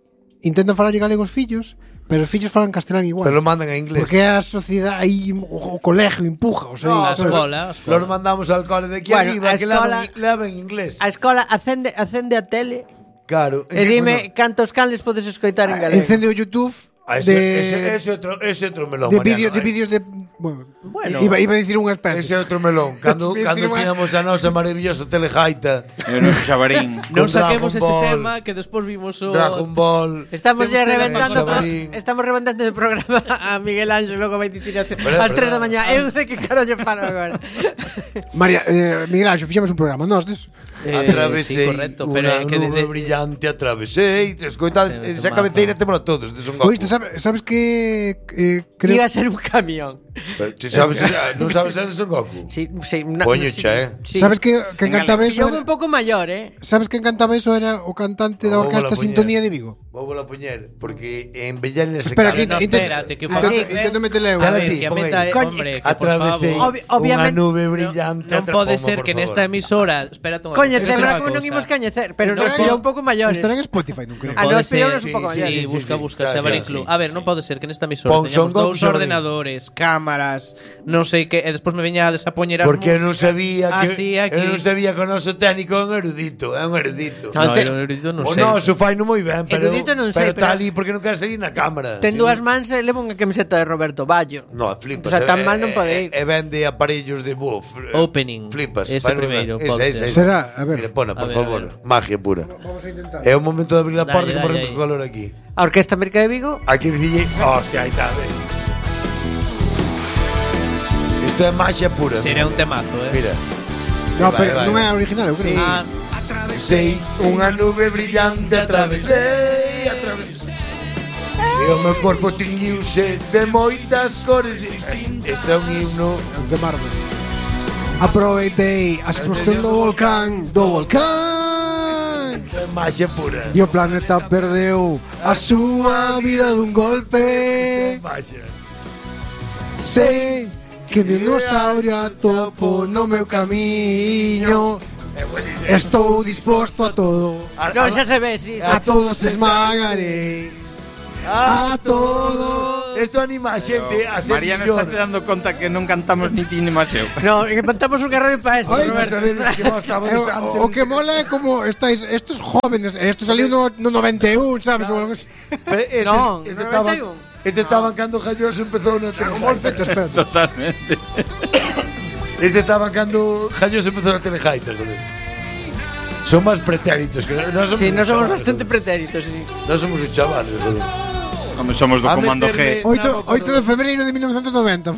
intentan falar galego aos fillos, pero os fillos falan castelán igual. Pero lo mandan a inglés. Porque a sociedade aí o colegio empuja, o sea, a escola. Los mandamos al cole de aquí arriba que levan inglés. A escola acende a tele. Claro. E dime cantos canles podes escoitar en galego. Encende o YouTube. Ese outro melón, de vídeos de bueno, iba a dicir unha espera. Ese outro melón. Cando tiñamos a nosa maravillosa telejaita e o noso xabarín. Non saquemos ese tema que despois vimos o Dragon Ball. Estamos ya reventando el programa a Miguel Anxo, logo vai dicir ás 3 da mañá. Eu de que carallo falo agora. María, Miguel Anxo, fixemos un programa nós des. Atravesei unha nube brillante, atravesei. Escoitades, esa cabeceira temos todos de Son Goku. Oíste, sabes que iba a ser un camión. Non sabes de Son Goku? Sí. Poñocha, Sabes que encantaba eso? Era un pouco maior, Sabes que encantaba eso? Era o cantante da orquesta Sintonía de Vigo. Vou a poñer, porque en Bellán se Espera, espérate, que intento metele eu. Atravesei unha nube brillante. Non pode ser que nesta emisora, espérate un coñecerla como non imos coñecer, pero nos pillou un pouco maiores. Estará en Spotify, non creo. Nos pillou un pouco maiores. Sí, busca, Xabarín Club. A ver, non pode ser que nesta emisora teñamos dous ordenadores, cámaras, non sei que, e despois me veñades a poñer as porque eu non sabía que o noso técnico é un erudito, é un erudito. No, erudito non sei. O noso fai non moi ben, pero está ali porque non quere salir na cámara. Ten dúas mans e leva unha camiseta de Roberto Ballo. No, flipas. O sea, tan mal non pode ir. E vende aparellos de buff. Opening. Flipas. Ese primeiro. Será, a ver. Mire, pona, por favor. Magia pura. Vamos a intentar. É o momento de abrir a porta que morremos con calor aquí. A Orquesta América de Vigo. Aquí dicille, hostia, aí está, ves. Isto é magia pura. Sería un temazo, Mira. No, pero non é original, eu creo. Atravesei unha nube brillante, atravesei. E o meu corpo tinguiuse de moitas cores. Este é un himno de Marvel. Aproveitei a explosión do volcán Magia pura. E o planeta perdeu a súa vida dun golpe. Magia. Sei que dinosaurio atopo no meu camiño. Estou disposto a todo. Non, xa se ve, sí. A todos esmagarei. A todo. Esto anima a xente a ser Mariano, millón. estás dando conta que non cantamos ni ti ni Maseu. No, que montamos unha radio para esto, Oye, Roberto. Sabedes que vos estabades antes. O que mola é como estáis estos jóvenes. Esto saliu no 91, sabes? O algo así. Non, 91. Este estaban cando Jalloso empezou na Telejaita. Espera. Totalmente. Este estaban cando Jalloso empezou na Telejaita, joder. Son máis pretéritos que nós somos. Sí, nós somos chavales, bastante joder. pretéritos, sí. Nós somos os chavales, joder. Como somos do A Comando meterle- G. 8 de febreiro de 1990.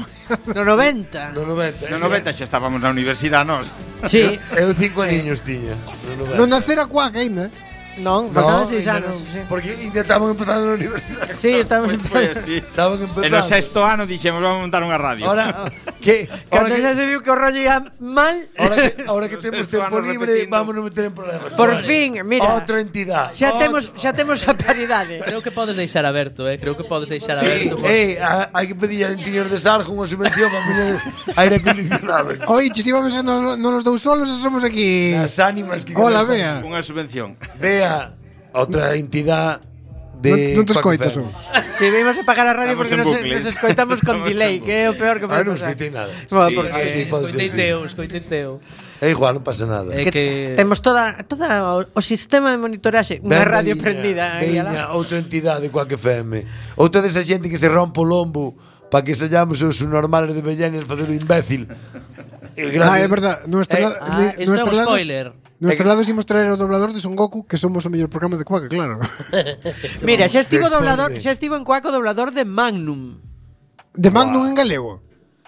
No 90. No 90. No 90 xa estábamos na universidade nós. Sí. Eu 5 aniños tiña. No 90. Non nacera cuac aínda. Non, faltaban 6 ainda anos. non, Sí, Porque ainda estaban empezando na universidade. sí estamos Foi empezando. así. Estaban E empezando. no sexto ano dixemos vamos montar unha radio. Ahora que Cando xa se viu que o rollo ia mal, ahora que temos tempo Estaban libre, repetindo. vamos a meter en problemas. por Vale. fin, mira. Outra entidade. Xa temos a paridade. Creo que podes deixar aberto, creo que podes deixar Sí, aberto. hai que pedir a Entiños de Sarjo unha subvención para poñer aire acondicionado. Oye, si vamos no los dous solos, somos aquí. As ánimas que Hola, quedan. Bea. Unha subvención. Vea outra entidade de Non te Quack escoitas, FM. Si vimos a apagar a radio Estamos porque en nos bucle. escoitamos con Estamos delay, en que é o peor que Ah, pode non pasar. escoitei nada. Bueno, Sí, porque sí, pode ser, sí. Escoitei teu. É igual, non pasa nada. Que temos toda o sistema de monitoraxe, unha radio prendida aí alá. Veña, outra entidade de Quack FM. Outra desa xente que se rompe o lombo para que sallamos os normales de Bellanias facer o imbécil. Ah, é verdad. isto é un spoiler. Nuestros lados imos traer o doblador de Son Goku, que somos o mellor programa de Quack, claro. Mira, xa estivo Despois doblador, de- xa estivo en Cuaco doblador de Magnum. De Magnum en galego.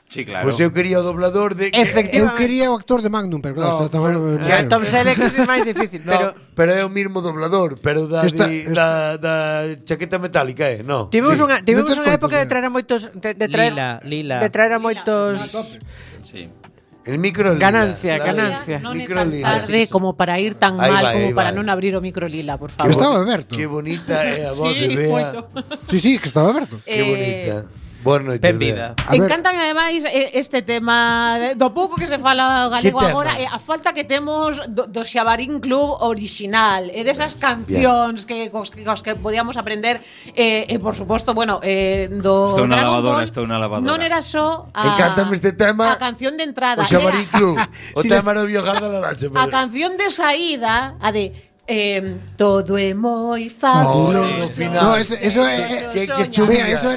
Sí, claro. Pois eu quería o doblador de Eu quería o actor de Magnum, pero claro, No, está tamén. pero- Tom Selleck é máis difícil, pero pero é o mismo doblador, pero da Esta- da chaqueta metálica, no. tivemos Sí. unha Moitos época de contos, traer a moitos de traer Lila. de traer a moitos Sí. El micro lila. Ganancia, Dale. ganancia. Non é Micro tan lila. tarde como para ir tan Ahí mal va, como ahí para va. non abrir o micro lila, por Que favor. estaba aberto. Qué bonita é a voz Sí, de Bea. moito. Sí, que estaba aberto. Qué bonita. Boa noite, Benvida. Bea. A ver. Encántame ademais este tema do pouco que se fala galego Que tema? agora e a falta que temos do Xabarín Club original e desas cancións que cos que podíamos aprender e por suposto, bueno, do Estou na Dragon lavadora, Ball, estou na lavadora. Non era só Encántame este tema. a canción de entrada, O Xabarín era Club. O Sí, tema era o Biojar da Laracha. a canción de saída, a de todo é moi fabuloso. No final. No, eso é. Que Chubía, chuvía. eso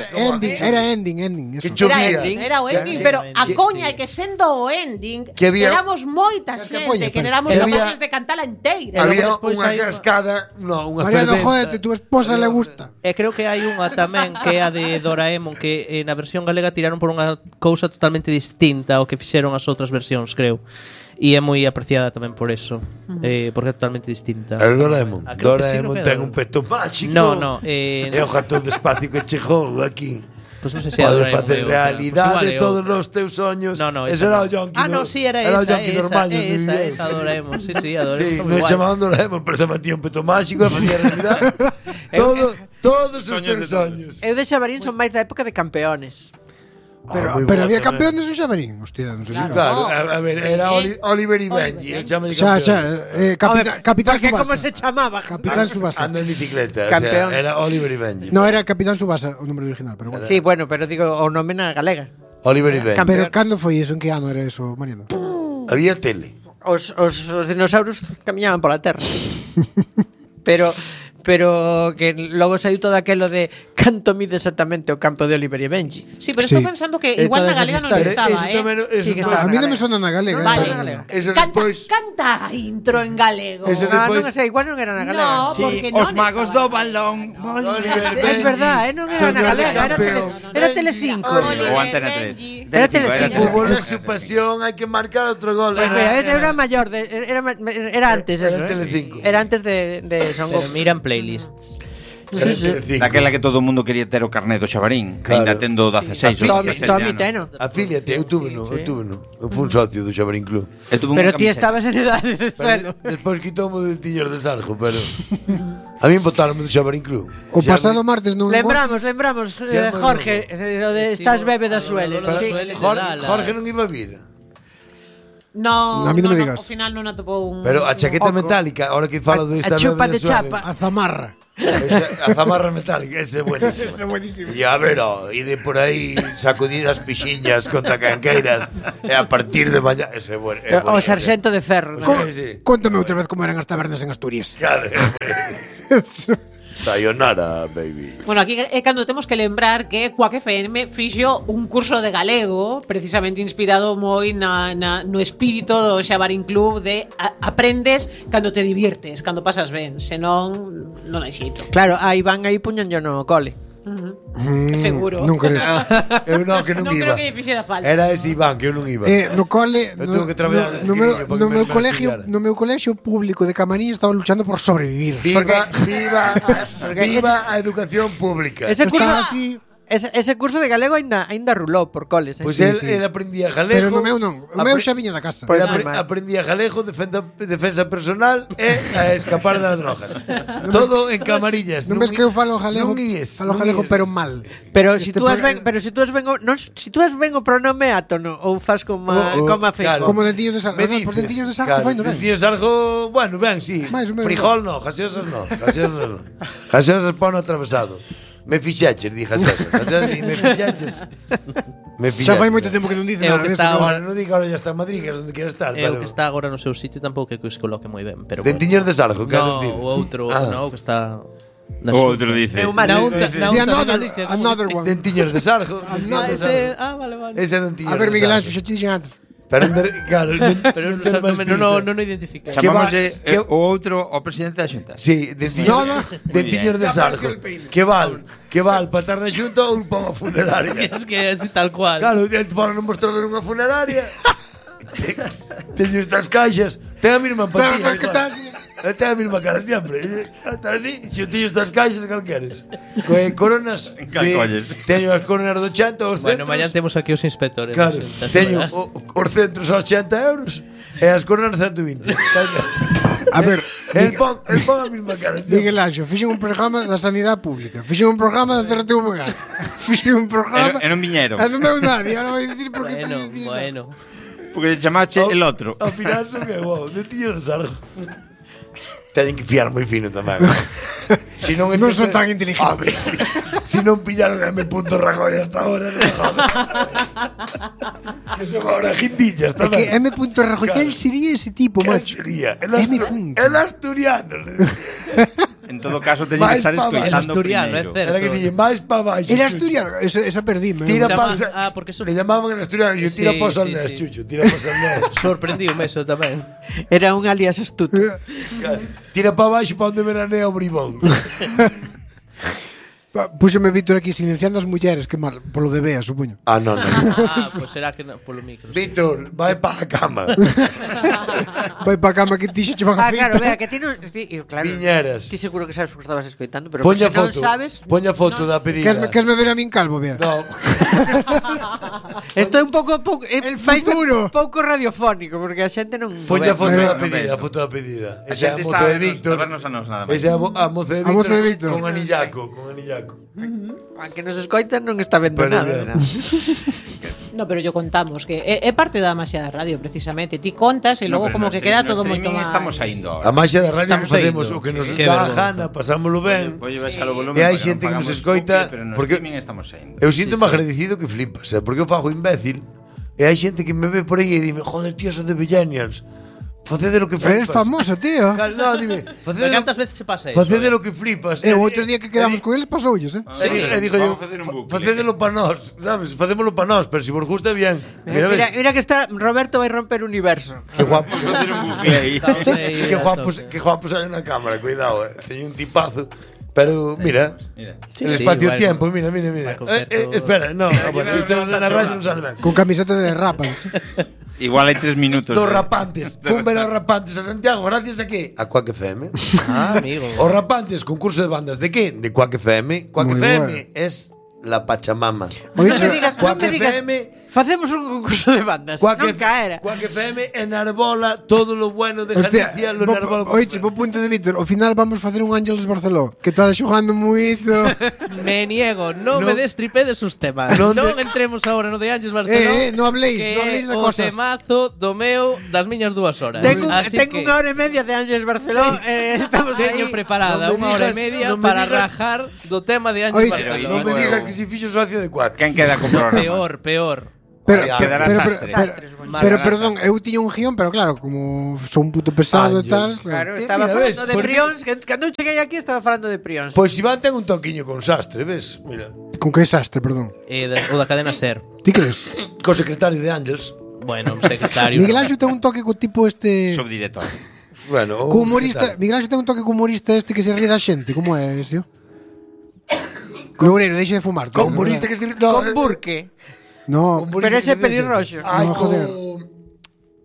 era ending. Eso. Que chuvía. Era o ending, pero a coña é que sendo o ending Que había- éramos moita Que xente poña, que éramos que había- capaces de cantala inteira. Había despois unha hai unha- cascada, no, unha Mariano, ferventa. jódete, tu esposa le gusta. E creo que hai unha tamén que é a de Doraemon que na versión galega tiraron por unha cousa totalmente distinta ao que fixeron as outras versións, creo. E é moi apreciada tamén por eso, porque é totalmente distinta. El Doraemon. Ah, creo que sí, Doraemon creo que ten era. un peto máxico. No, É o gato de espacio que chegou aquí. Pois non sei se é Pode Doraemon facer é outra. realidade Pois igual é todos outra. os teus soños. No, Ese esa era o no. Yonki. Ah, no, sí, era o esa, Yonki normal. esa, Doraemon, sí, a Doraemon. Sí, foi non guai. chamaban Doraemon, pero se metía un peto máxico e facía realidade todos os Soños teus de todos. soños. Eu de Xabarín son máis da época de campeones. Pero había campeones en Xabarín. Hostia, non sei se. Claro, a ver, era Oliver y Benji, el chame de Xa, campeón. Capitán Porque como Subasa. se chamaba? Capitán Subasa. Anda en bicicleta, o Campeóns. sea, era Oliver y Benji. No, era Capitán Subasa o nombre original, pero bueno. Sí, bueno, pero digo o nome na galega. Oliver y Benji. Pero cando foi eso? En que ano era eso, Mariano? Había tele. Os dinosaurios camiñaban pola terra. pero que logo saiu todo aquelo de canto mide exactamente o campo de Oliver e Benji. Sí, pero estou Sí. pensando que igual na todas galega esas non historias. estaba, Eso tamén, eso Sí, que despois- estaba. A mí non me sona na galega. Vale. Eso Canta, despois- canta a intro en galego. Eso Ah, despois- non sei, igual non era na galega. No, Sí, porque os non magos estaba. do balón. Oliver É Benji, verdad, non era señor na galega, era campeón. Telecinco. Oliver Ou Antena 3. Benji. Era Telecinco. Fútbol é su pasión, hai que marcar outro gol. Pues mira, ese era mayor, era antes Era eso, Telecinco. Era antes de Son Pero Goku. miran playlists. Daquela que todo o mundo quería ter o carné do Xabarín, ainda tendo 16 ou 17 anos. Afíliate, eu tuve no. Eu fui un socio do Xabarín Club. Pero ti estabas en edade de suelo. Despois quitoume de Tiñor de Sarjo, pero a mí botaronme do Xabarín Club. O pasado martes non Lembramos, Jorge, o de estás bebe da suele. Jorge non iba a vir. No, a mí non me digas. Ao final non atopou un. Pero a chaqueta metálica, ahora que falo de esta chupa bebe de chapa. A zamarra. A zamarra metálica, ese é buenísimo. E a ver, ide por aí sacudir as pixiñas contra canqueiras e a partir de mañá, ese é bueno. O sarxento de ferro. Conta-me outra vez como eran as tabernas en Asturias. Claro. Sayonara, baby. Bueno, aquí é cando temos que lembrar que Quack FM fixo un curso de galego precisamente inspirado moi no espírito do Xabarín Club de aprendes cando te diviertes, cando pasas ben, senón non hai xeito. Claro, aí van aí puñanllo no cole. Seguro. Non creo. Eu non, que non Non iba. creo que lle fixera falta. Era ese Iván, que eu non iba. No cole, Eu tuve que traballar no meu colexio público de Camariñas estaba luchando por sobrevivir. Viva a educación pública. Ese curso Estaba así. Ese curso de galego ainda rulou por coles. Pois Sí, él aprendía galego. Pero no meu non. O meu xa viña da casa. Pero aprendía galego, defensa personal e a escapar das drogas. Todo en Camariñas. Non ves que eu falo galego? Falo galego pero mal. Pero si tú has ben o pronome átono ou fas como Feijóo. Como dentillos de sarjo. Por dentillos de sarjo foi no ben. Dentillos de sarjo, bueno, ben, sí. Frijol no, gaseosas no. Gaseosas pano atravesado. Me fixaches, di gaseosas. Me fixaches. Xa fai moito tempo que non dice nada. Agora non diga, ahora ya está en Madrid, que é onde quero estar. O que está agora no seu sitio tampouco é que os coloque moi ben. Dentillos de sarjo, quero dicir. O outro, o que está... O outro dice. Another one. Dentillos de sarjo. Vale. Ese é dentillos de sarjo. A ver, Miguel Anxo, xa te dixen antes. Pero non o identifica. Chamámoslle o outro o presidente da Xunta. Sí, dentillos de sarjo. Que val para estar na Xunta ou para unha funeraria. Es que é así tal cual. Claro, para non mostrar nunha funeraria. Teño estas caixas. Ten a mesma empatía. Ten a mesma cara sempre. Está así, se eu teño estas caixas, cal queres? Coronas. Teño as coronas de 80 os centros. Bueno, mañá temos aquí os inspectores. Claro, teño os centros a 80 euros e as coronas 120. A ver, el pon a mesma cara. Miguel Anxo, fixen un programa da sanidade pública. Fixen un programa da CRTVG. Fixen un programa... E non viñeron. E non veu nadie. Ahora vai dicir por que está Bueno. Porque chamache el outro. Ao final son que dentillos de sarjo. Teñen que fiar moi fino tamén. Non son tan inteligentes. Si non pillaron a M. Rajoy hasta ahora, que son ahora guindillas tamén. Que M. Rajoy, quen sería ese tipo, macho? Sería? El asturiano. En todo caso, teñen que estar escoitando el asturiano, primeiro. é certo. Era que dicen, máis pa baixo. El asturiano, esa perdíme. Le llamaban el asturiano e tira pa Salnés, Chucho, tira pa Salnés. Sorprendiume eso tamén. Era un alias astuto. Tira pa baixo pa onde veranea o bribón. Púxome Víctor aquí silenciando as mulleres, que mal, polo de Bea, supoño. Non. Pois será que polo micro. Víctor, vai pa a cama. Vai pa a cama que ti xa che van a feitar. Claro, vea, que ti non... Claro, Viñeras. Ti seguro que sabes porque estabas escoitando, pero Poña se non foto, sabes... poña foto da pedida. Queresme ver a min calvo, Bea? No. Isto é un pouco el futuro. Un pouco radiofónico, porque a xente non... Poña foto da pedida, Esa é a moza de Víctor. Esa é a moza de Víctor con anillaco, Aunque nos escoitan non está vendo nada. No, pero yo contamos que é parte da maxia da radio precisamente. Ti contas e logo como que queda todo moito máis. Estamos saindo. A maxia da radio facemos o que nos dá a gana, pasámolo ben. E hai xente que nos escoita porque estamos saindo. Eu sinto-me agradecido que flipas, porque eu fago imbécil e hai xente que me ve por aí e dime, joder, tío, son de Villanians. Facede lo que flipas. Eres famoso, tío. No, dime. Cantas veces se pasa eso? Facede lo que flipas. O outro día que quedamos con eles pasoulles, E digo yo, facédelo pa nós, sabes? Facémolo pa nós, pero se vos gusta bien. Mira que está Roberto vai romper o universo. Que guapo. Facer un bucle aí. Que guapos hai na cámara, cuidado, teño un tipazo. Pero mira, el espacio-tiempo, mira. Espera, no, isto na radio non sale ben. Con camiseta de Rapans. Igual hai 3 minutos. Dos rapantes. Fun ver os rapantes a Santiago, gracias a qué? A Quack FM. Amigo. Os rapantes, concurso de bandas de qué? De Quack FM. Quack Muy FM bueno. es la Pachamama. Oye, Non me digas, Quack FM. Facemos un concurso de bandas. Quack Non caera. Quack FM enarbola todo lo bueno de Galicia, lo enarbola. Oiche, po punto de Víctor, ao final vamos facer un Ángeles Barceló, que está xogando moito. Me niego, non No. me destripedes os temas. Non Non de- entremos agora no de Ángeles Barceló. Non habléis, que non habléis de o cosas. temazo do meu das miñas 2 horas. Tengo Así que unha hora e media de Ángeles Barceló. Estamos aí. teño preparada Non me unha hora e digas- media non me para digas- rajar do tema de Ángeles Oíste, Barceló. Non me digas que si fixo socio de Quack. Quen queda con programa? Peor. Pero, Ay, pero, quedará pero, sastre. Sastres, pero, bueno. pero Quedará perdón, eu tiña un guión, pero claro, como son un puto pesado e tal, Ángeles. Claro, Mira, estaba ves, falando de porque- prións. Cando eu cheguei aquí estaba falando de prións. Pois Iván ten un toquiño con sastre, ves? Mira. con que desastre, perdón. O da cadena Ser. Ti crees? Co secretario de Ángels. Bueno, un secretario. Miguel Ángel ten un toque co tipo este Subdirector. Bueno, co humorista, Miguel Ángel ten un toque co humorista este que se ríe da xente, como é ese? Loureiro, deixe de fumar. Co humorista que se... No, Con Burke. No, humorista Pero que ese se ríe pelirroxo. Ay, No, joder.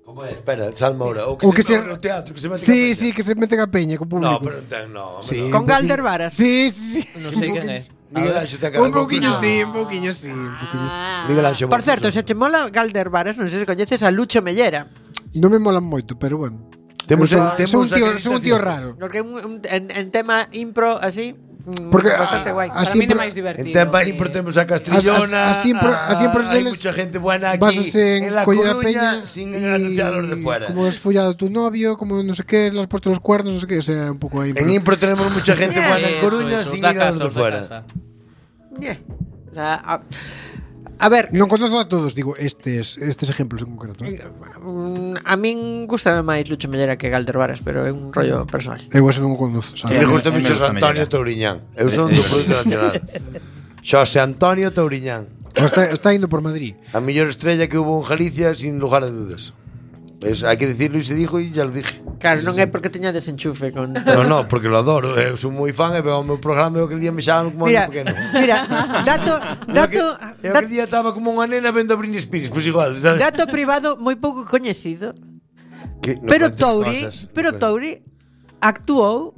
Como é? Espera, salma ahora. O que, O se, que se- no teatro, que se mete sí, sí, que se meten a peña co público. No, pero non ten, no. Sí. Con Galder Varas. Sí, sí, sí. Non sei quen é. Miguel Ángel ten cara Un de pouquiño concurso. sí, un pouquiño sí, un pouquiño sí. Miguel Ángel. Por certo, se che mola Galder Varas, non sei se coñeces a Lucho Mellera. Non me molan moito, pero bueno. Temos Eu temos son un tío raro. Porque en tema impro así, Porque bastante guai. Para así mí é pro- máis divertido. En Tempa que- Impro temos a Castrillona. Así impro Hay deles mucha gente buena aquí Básase en en La coller a Coruña peña sin y anunciar los de fuera. Como has follado tu novio, como no sé qué, le has puesto los cuernos, no sé qué, o sea, un pouco aí. En Impro tenemos mucha gente buena en Coruña sin ir a los de fuera. Yeah. O sea, a ver, Non conozo a todos, digo, estes ejemplos en concreto. a min gusta máis Lucho Mellera que Galder Varas, pero é un rollo personal. Eu eso non o conozo, A sabes? mí Sí, gusta a mí me mucho gusta Antonio Mellera. Touriñán. Eu son do Producto Nacional. Xosé Antonio Touriñán. O está indo por Madrid. A mellor estrella que hubo en Galicia sin lugar a dudas. Hay que decirlo y se dijo y ya lo dije. Claro, non é porque teña desenchufe con No, porque lo adoro. Eu son moi fan e veo o meu programa e o que día me xaban como Mira, un pequeno. mira, Eu que día estaba como unha nena vendo a Britney Spears, pois igual, sabes? dato privado moi pouco coñecido, Que no pero cuentes Touri, cosas. actuou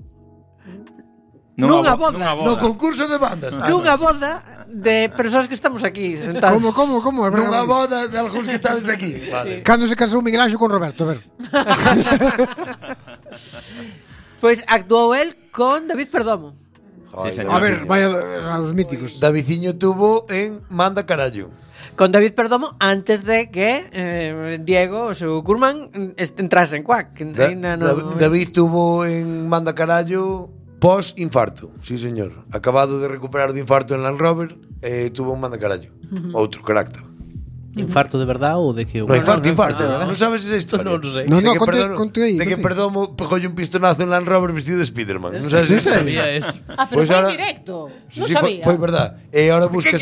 nunha boda. No concurso de bandas. nunha boda de persoas que estamos aquí sentados. Como? A ver, Nunha boda de algúns que estades aquí. Vale. Cando se casou Miguel Ángel con Roberto, a ver. Pois actuou el con David Perdomo. Joder, Sí, señor. A ver, vaya a los míticos. Davidciño tuvo en Manda Carallo. Con David Perdomo antes de que Diego, o seu curmán, entrase en Quack. David tuvo en Manda Carallo pos infarto. Sí, señor. Acabado de recuperar de infarto en Land Rover, tuvo un Manda Carallo. Outro carácter. Infarto de verdad ou de que? No, infarto. Non sabes esa historia. Non sei. No, De que conte aí. De que Perdomo pegolle un pistonazo en Land Rover vestido de Spiderman. Non sabes esa historia. Sabía eso. Ah, pero Pois foi ahora- en directo. Sí, Non sí, sabía. foi verdad. E ahora buscas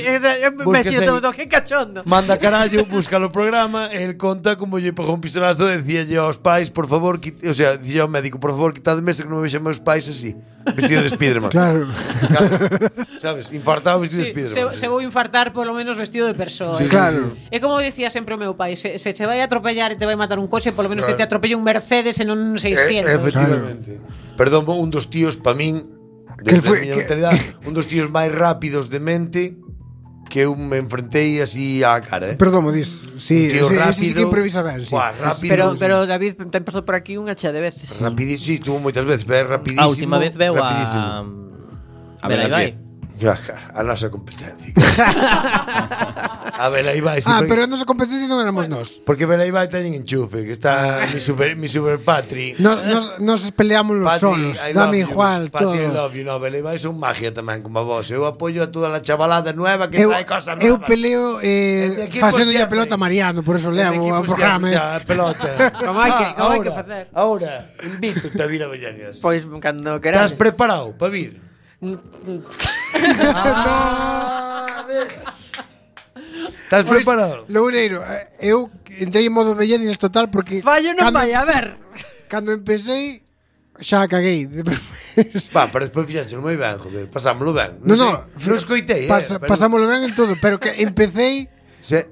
Messi todo, que cachondo. Manda carallo, búscalo o programa, e el conta como lle pegou un pistonazo e dicíalle aos pais, por favor, o sea, dicía ao médico, por favor, quitadme este que non me vexan meus pais así, vestido de Spiderman. Claro. Sabes, infartado vestido de Sí, Spiderman. se vou infartar polo menos vestido de persoa. Sí, claro. É como dicía sempre o meu pai, se che vai a atropellar e te vai matar un coche, polo menos que te atropelle un Mercedes e non un 600. Efectivamente. Perdón, un dos tíos pa min Que el desde foi- a miña que- mentalidade, un dos tíos máis rápidos de mente que eu me enfrentei así á cara, Perdón, dis. Sí, Un tío sí, rápido. sí que improvisa ben, sí. Buah, rápido. Pero David ten pasado por aquí unha chea de veces. Rapidísimo, sí, tuvo moitas veces, pero é rapidísimo. A última vez veu rapidísimo. a Belai Vai. Ya, cara, a nosa competencia. A ver, aí vai. Sí, Ah, porque, pero a nosa competencia non éramos nós. porque ver aí vai teñen enchufe, que está mi super patri. Nos peleamos los solos. I love Dame you. igual Patri, I todo. love you. No, Belai vai son magia tamén, como vos. Eu apoio a toda a chavalada nueva que trae cosas Eu novas. peleo El de equipo facendo a siempre. pelota a Mariano, por eso El levo equipo o programa. siempre, ya, pelota. Como hai que facer. Ahora, invito-te a vir a Bellañas. Pois cando querades. Estás preparado para vir? Estás preparado? Loureiro, eu entrei en modo Bellanines total porque Fallo non vai a ver. Cando empecé xa caguei. Va, pero despois fixaxe moi ben, joder, pasámoslo ben. No, Non escoitei, pasámoslo ben en todo, pero que empecé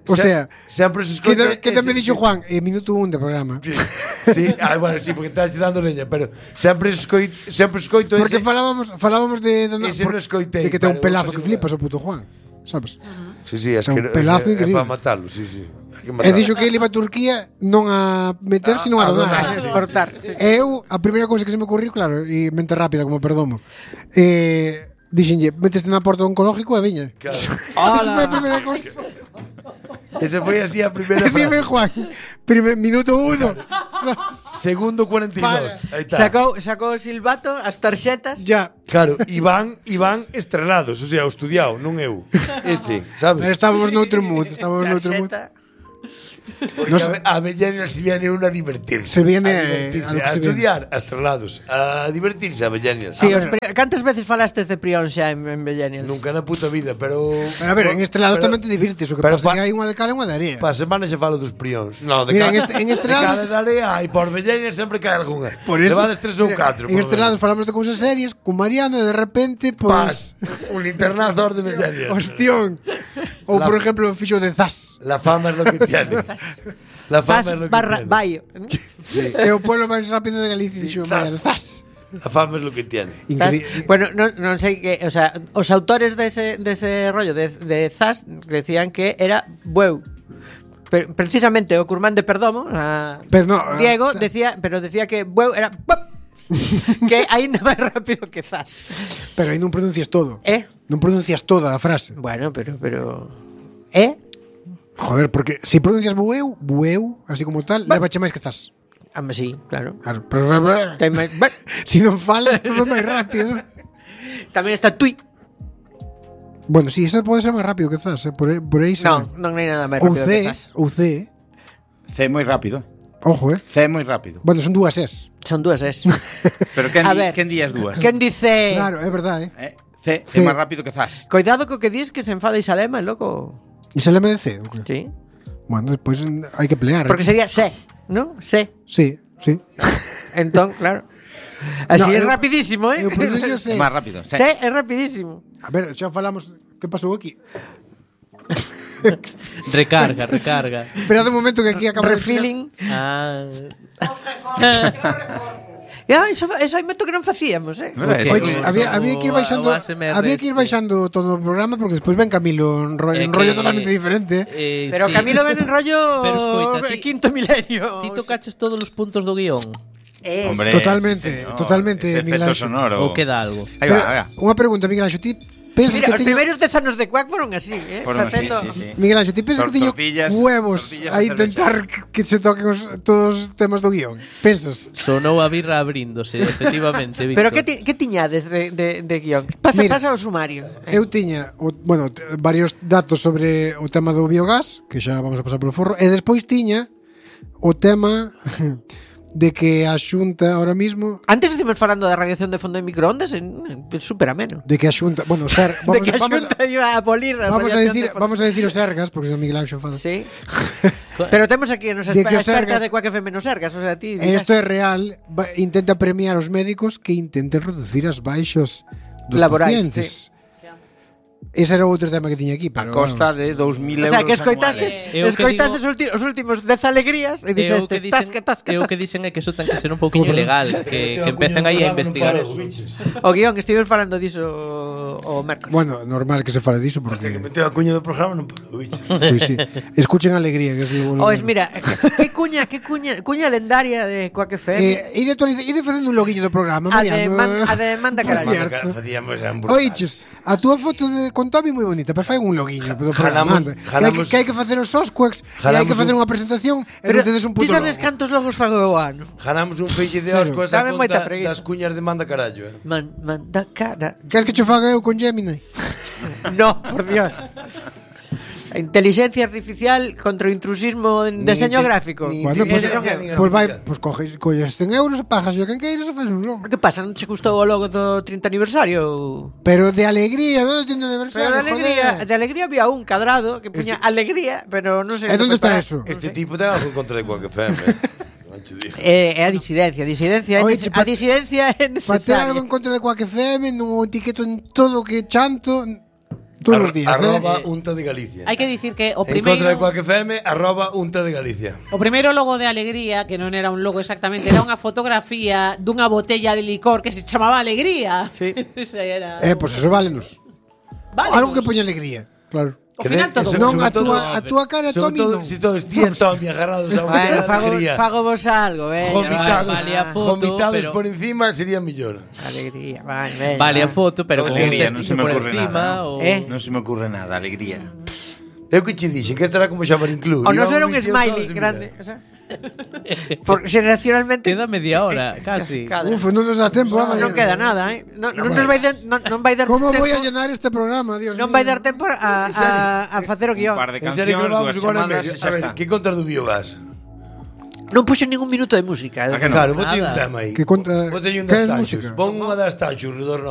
O sea, sempre se escoita que tamén dixo Juan, minuto 1 do programa. Sí, bueno, sí, porque estás dando leña, pero sempre escoito porque falábamos de ese non escoitei, de que ten un pelazo que flipas o puto Juan, sabes? Sí, é un pelazo increíble. para matalo, sí. E dixo que ele iba a Turquía non a meter, sino a donar, A exportar. Eu, a primeira cousa que se me ocurriu, claro, e mente rápida como perdomo, dixenlle, meteste na porta oncológico e viña. Claro. Esa foi a primeira cousa. Ese foi así a primeira E dime, Juan, minuto 1. Segundo 42. Aí está. Sacou o silbato, as tarxetas. Ya. Claro, Iván estrelados, o sea, o estudiado, non eu. Ese, sabes? Estábamos noutro mood, Tarxeta. Porque a Avellana se viene uno a divertirse. Se viene a estudiar, a estrelados, a divertirse a Avellana. Sí, cantas veces falastes de Prión xa en Bellenial? Nunca na puta vida, pero a ver, en Estrelados tamén te divirtes, o que pasa é que hai unha de cal e unha de area. Pa semana xa falo dos prións. No, de Mira, cal, en Estrelados de cal de area hai por Bellena sempre cae algunha. Por eso, levades 3 ou 4. En Estrelados falamos de cousas serias con Mariano e de repente Paz, un internazador de Bellena. Hostión. Ou por exemplo, fixo de Zas. La fama es lo que tiene. La fama es lo que tiene. Baio. É o pueblo máis rápido de Galicia, dixo Mariano. Zas. La fama es lo que tiene. Bueno, non sei que, o sea, os autores dese rollo de Zas decían que era bueu. Precisamente o Curmán de Perdomo, Diego decía que bueu era que aínda máis rápido que Zas. Pero aí non pronuncias todo. Non pronuncias toda a frase. Bueno, pero Joder, porque se pronuncias bueu, así como tal, levache máis que Zas. Sí, claro. Pero si non falas todo máis rápido. Tamén está tui. Bueno, si, esa pode ser máis rápido que Zas, por aí se. Non hai nada máis rápido que Zas. Ou C. C moi rápido. Ojo, C moi rápido. Bueno, son dúas S. Son dúas S. Pero quen di as dúas? Quen dice? Claro, é verdade. C é máis rápido que Zas. Coidado co que dis que se enfada Isalema, loco. Isalema de C, o que? Sí. Bueno, despois hai que pelear. Porque sería C, ¿no? C. Sí. Entón, claro. Así é rapidísimo, É máis rápido. C é rapidísimo. A ver, xa falamos. Que pasou aquí? Recarga. Esperad un momento que aquí acaba refilling. Eso hai moito que non facíamos, había que ir baixando todo o programa porque despois ven Camilo en rollo totalmente diferente. Pero sí. Camilo ven en rollo quinto milenio. Ti tocaches todos os puntos do guión. Hombre, totalmente, ese Miguel efecto sonoro. Ou queda algo. Aí va. Unha pregunta, Miguel Anxo, ti pensas Mira, que os primeiros 10 anos de Quack foron así, facendo... Sí. Miguel Anxo, ti pensas que teño huevos a intentar que se toquen todos os temas do guión? Pensas? Sonou a birra abríndose, efectivamente, Víctor. Pero que tiñades de guión? Pasa o sumario. Eu tiña, varios datos sobre o tema do biogás, que xa vamos a pasar polo forro, e despois tiña o tema de que a Xunta ahora mismo... Antes estivemos falando da radiación de fondo de microondas, super ameno. De que a Xunta... Bueno, de que a Xunta iba a abolir a vamos a decir os Sergas, porque se Miguel Anxo enfada. Sí. Pero temos aquí a nosa experta de Quack FM nos Sergas, o sea, ti... Isto é real, intenta premiar os médicos que intenten reducir as baixas dos laborais, pacientes. Sí. Ese era outro tema que tiña aquí, pero a costa de 2.000 euros. O sea, que escoitastes os últimos 10 alegrías e dixeste tasca. O que dicen é que eso ten que ser un pouquinho ilegal, que empecen aí a investigar. O guión, estivemos falando diso o mércoles. Bueno, normal que se fale diso porque que meteu a cuña do programa non parou, bichos. Sí. Escuchen alegría, que es lo mira, que cuña lendaria de Quack FM. E de facendo un loguiño do programa, Mariano. A de manda carallo. Facíamos hamburguesas. Oiches, a túa foto con Toby moi bonita, pero fai un loguinho do programa. Que hai que facer os Osquaks, e hai que facer unha presentación e non tedes un puto logo. Ti sabes cantos logos fago eu ano? Ganamos un feixe de Osquaks a conta das cuñas de manda carallo. Manda cara. Queres que cho faga eu con Gemini? No, por Dios. A inteligencia artificial contra o intrusismo en diseño gráfico. Bueno, pues coges 100 euros, pagas yo quen queiras e faz un logo. Que pasa? Non che gustou o logo do 30 aniversario? Pero de alegría, non do 30 aniversario. Pero de alegría había un cadrado que puña alegría, pero non sei. E onde está eso? Este tipo ten algo contra de Quack FM. É a disidencia. A disidencia é necesaria. Para ter algo en contra de Quack FM, non o etiqueto en todo o que chanto. Todos os días, arroba Unta de Galicia. Hai que dicir que o En contra de primeiro Quack FM, arroba Unta de Galicia. o primeiro logo de Alegría, que non era un logo exactamente, era unha fotografía dunha botella de licor que se chamaba Alegría. Sí. Esa era. Pues eso válenos. Vale, Algo que poña alegría, claro. Ao final todo. Non, sobre a túa cara é Sobre Tommy todo, non. si todos tían Tommy agarrados a Bueno, unha alegría. fago vos algo, Vomitados, Vale a foto, vomitados pero- por encima sería mellor. Alegría, vai. Vale a foto, pero con un Alegría, non se testigo me por ocurre encima nada. o... Non se me ocurre nada, alegría. Eu que che dixen que estará como Xamarín Club. O non Iba era un vídeo smiley só se grande, mira. o sea, por generacionalmente Queda media hora, casi. cada- Uf, non nos dá tempo. non queda nada, Non nos vai non vai dar Como tempo. voy a llenar este programa, Dios Non mío? vai dar tempo a facer o Un guión. par de En serio que cancións, vamos dúas agora en chamadas medio. e A xa ver, está. que contas do biogás? Non puxo ningún minuto de música. A que non? Claro, botei un Nada. tema aí. Que conta- Botei un que das é Tachos. música? Pon unha das Tachos, Redor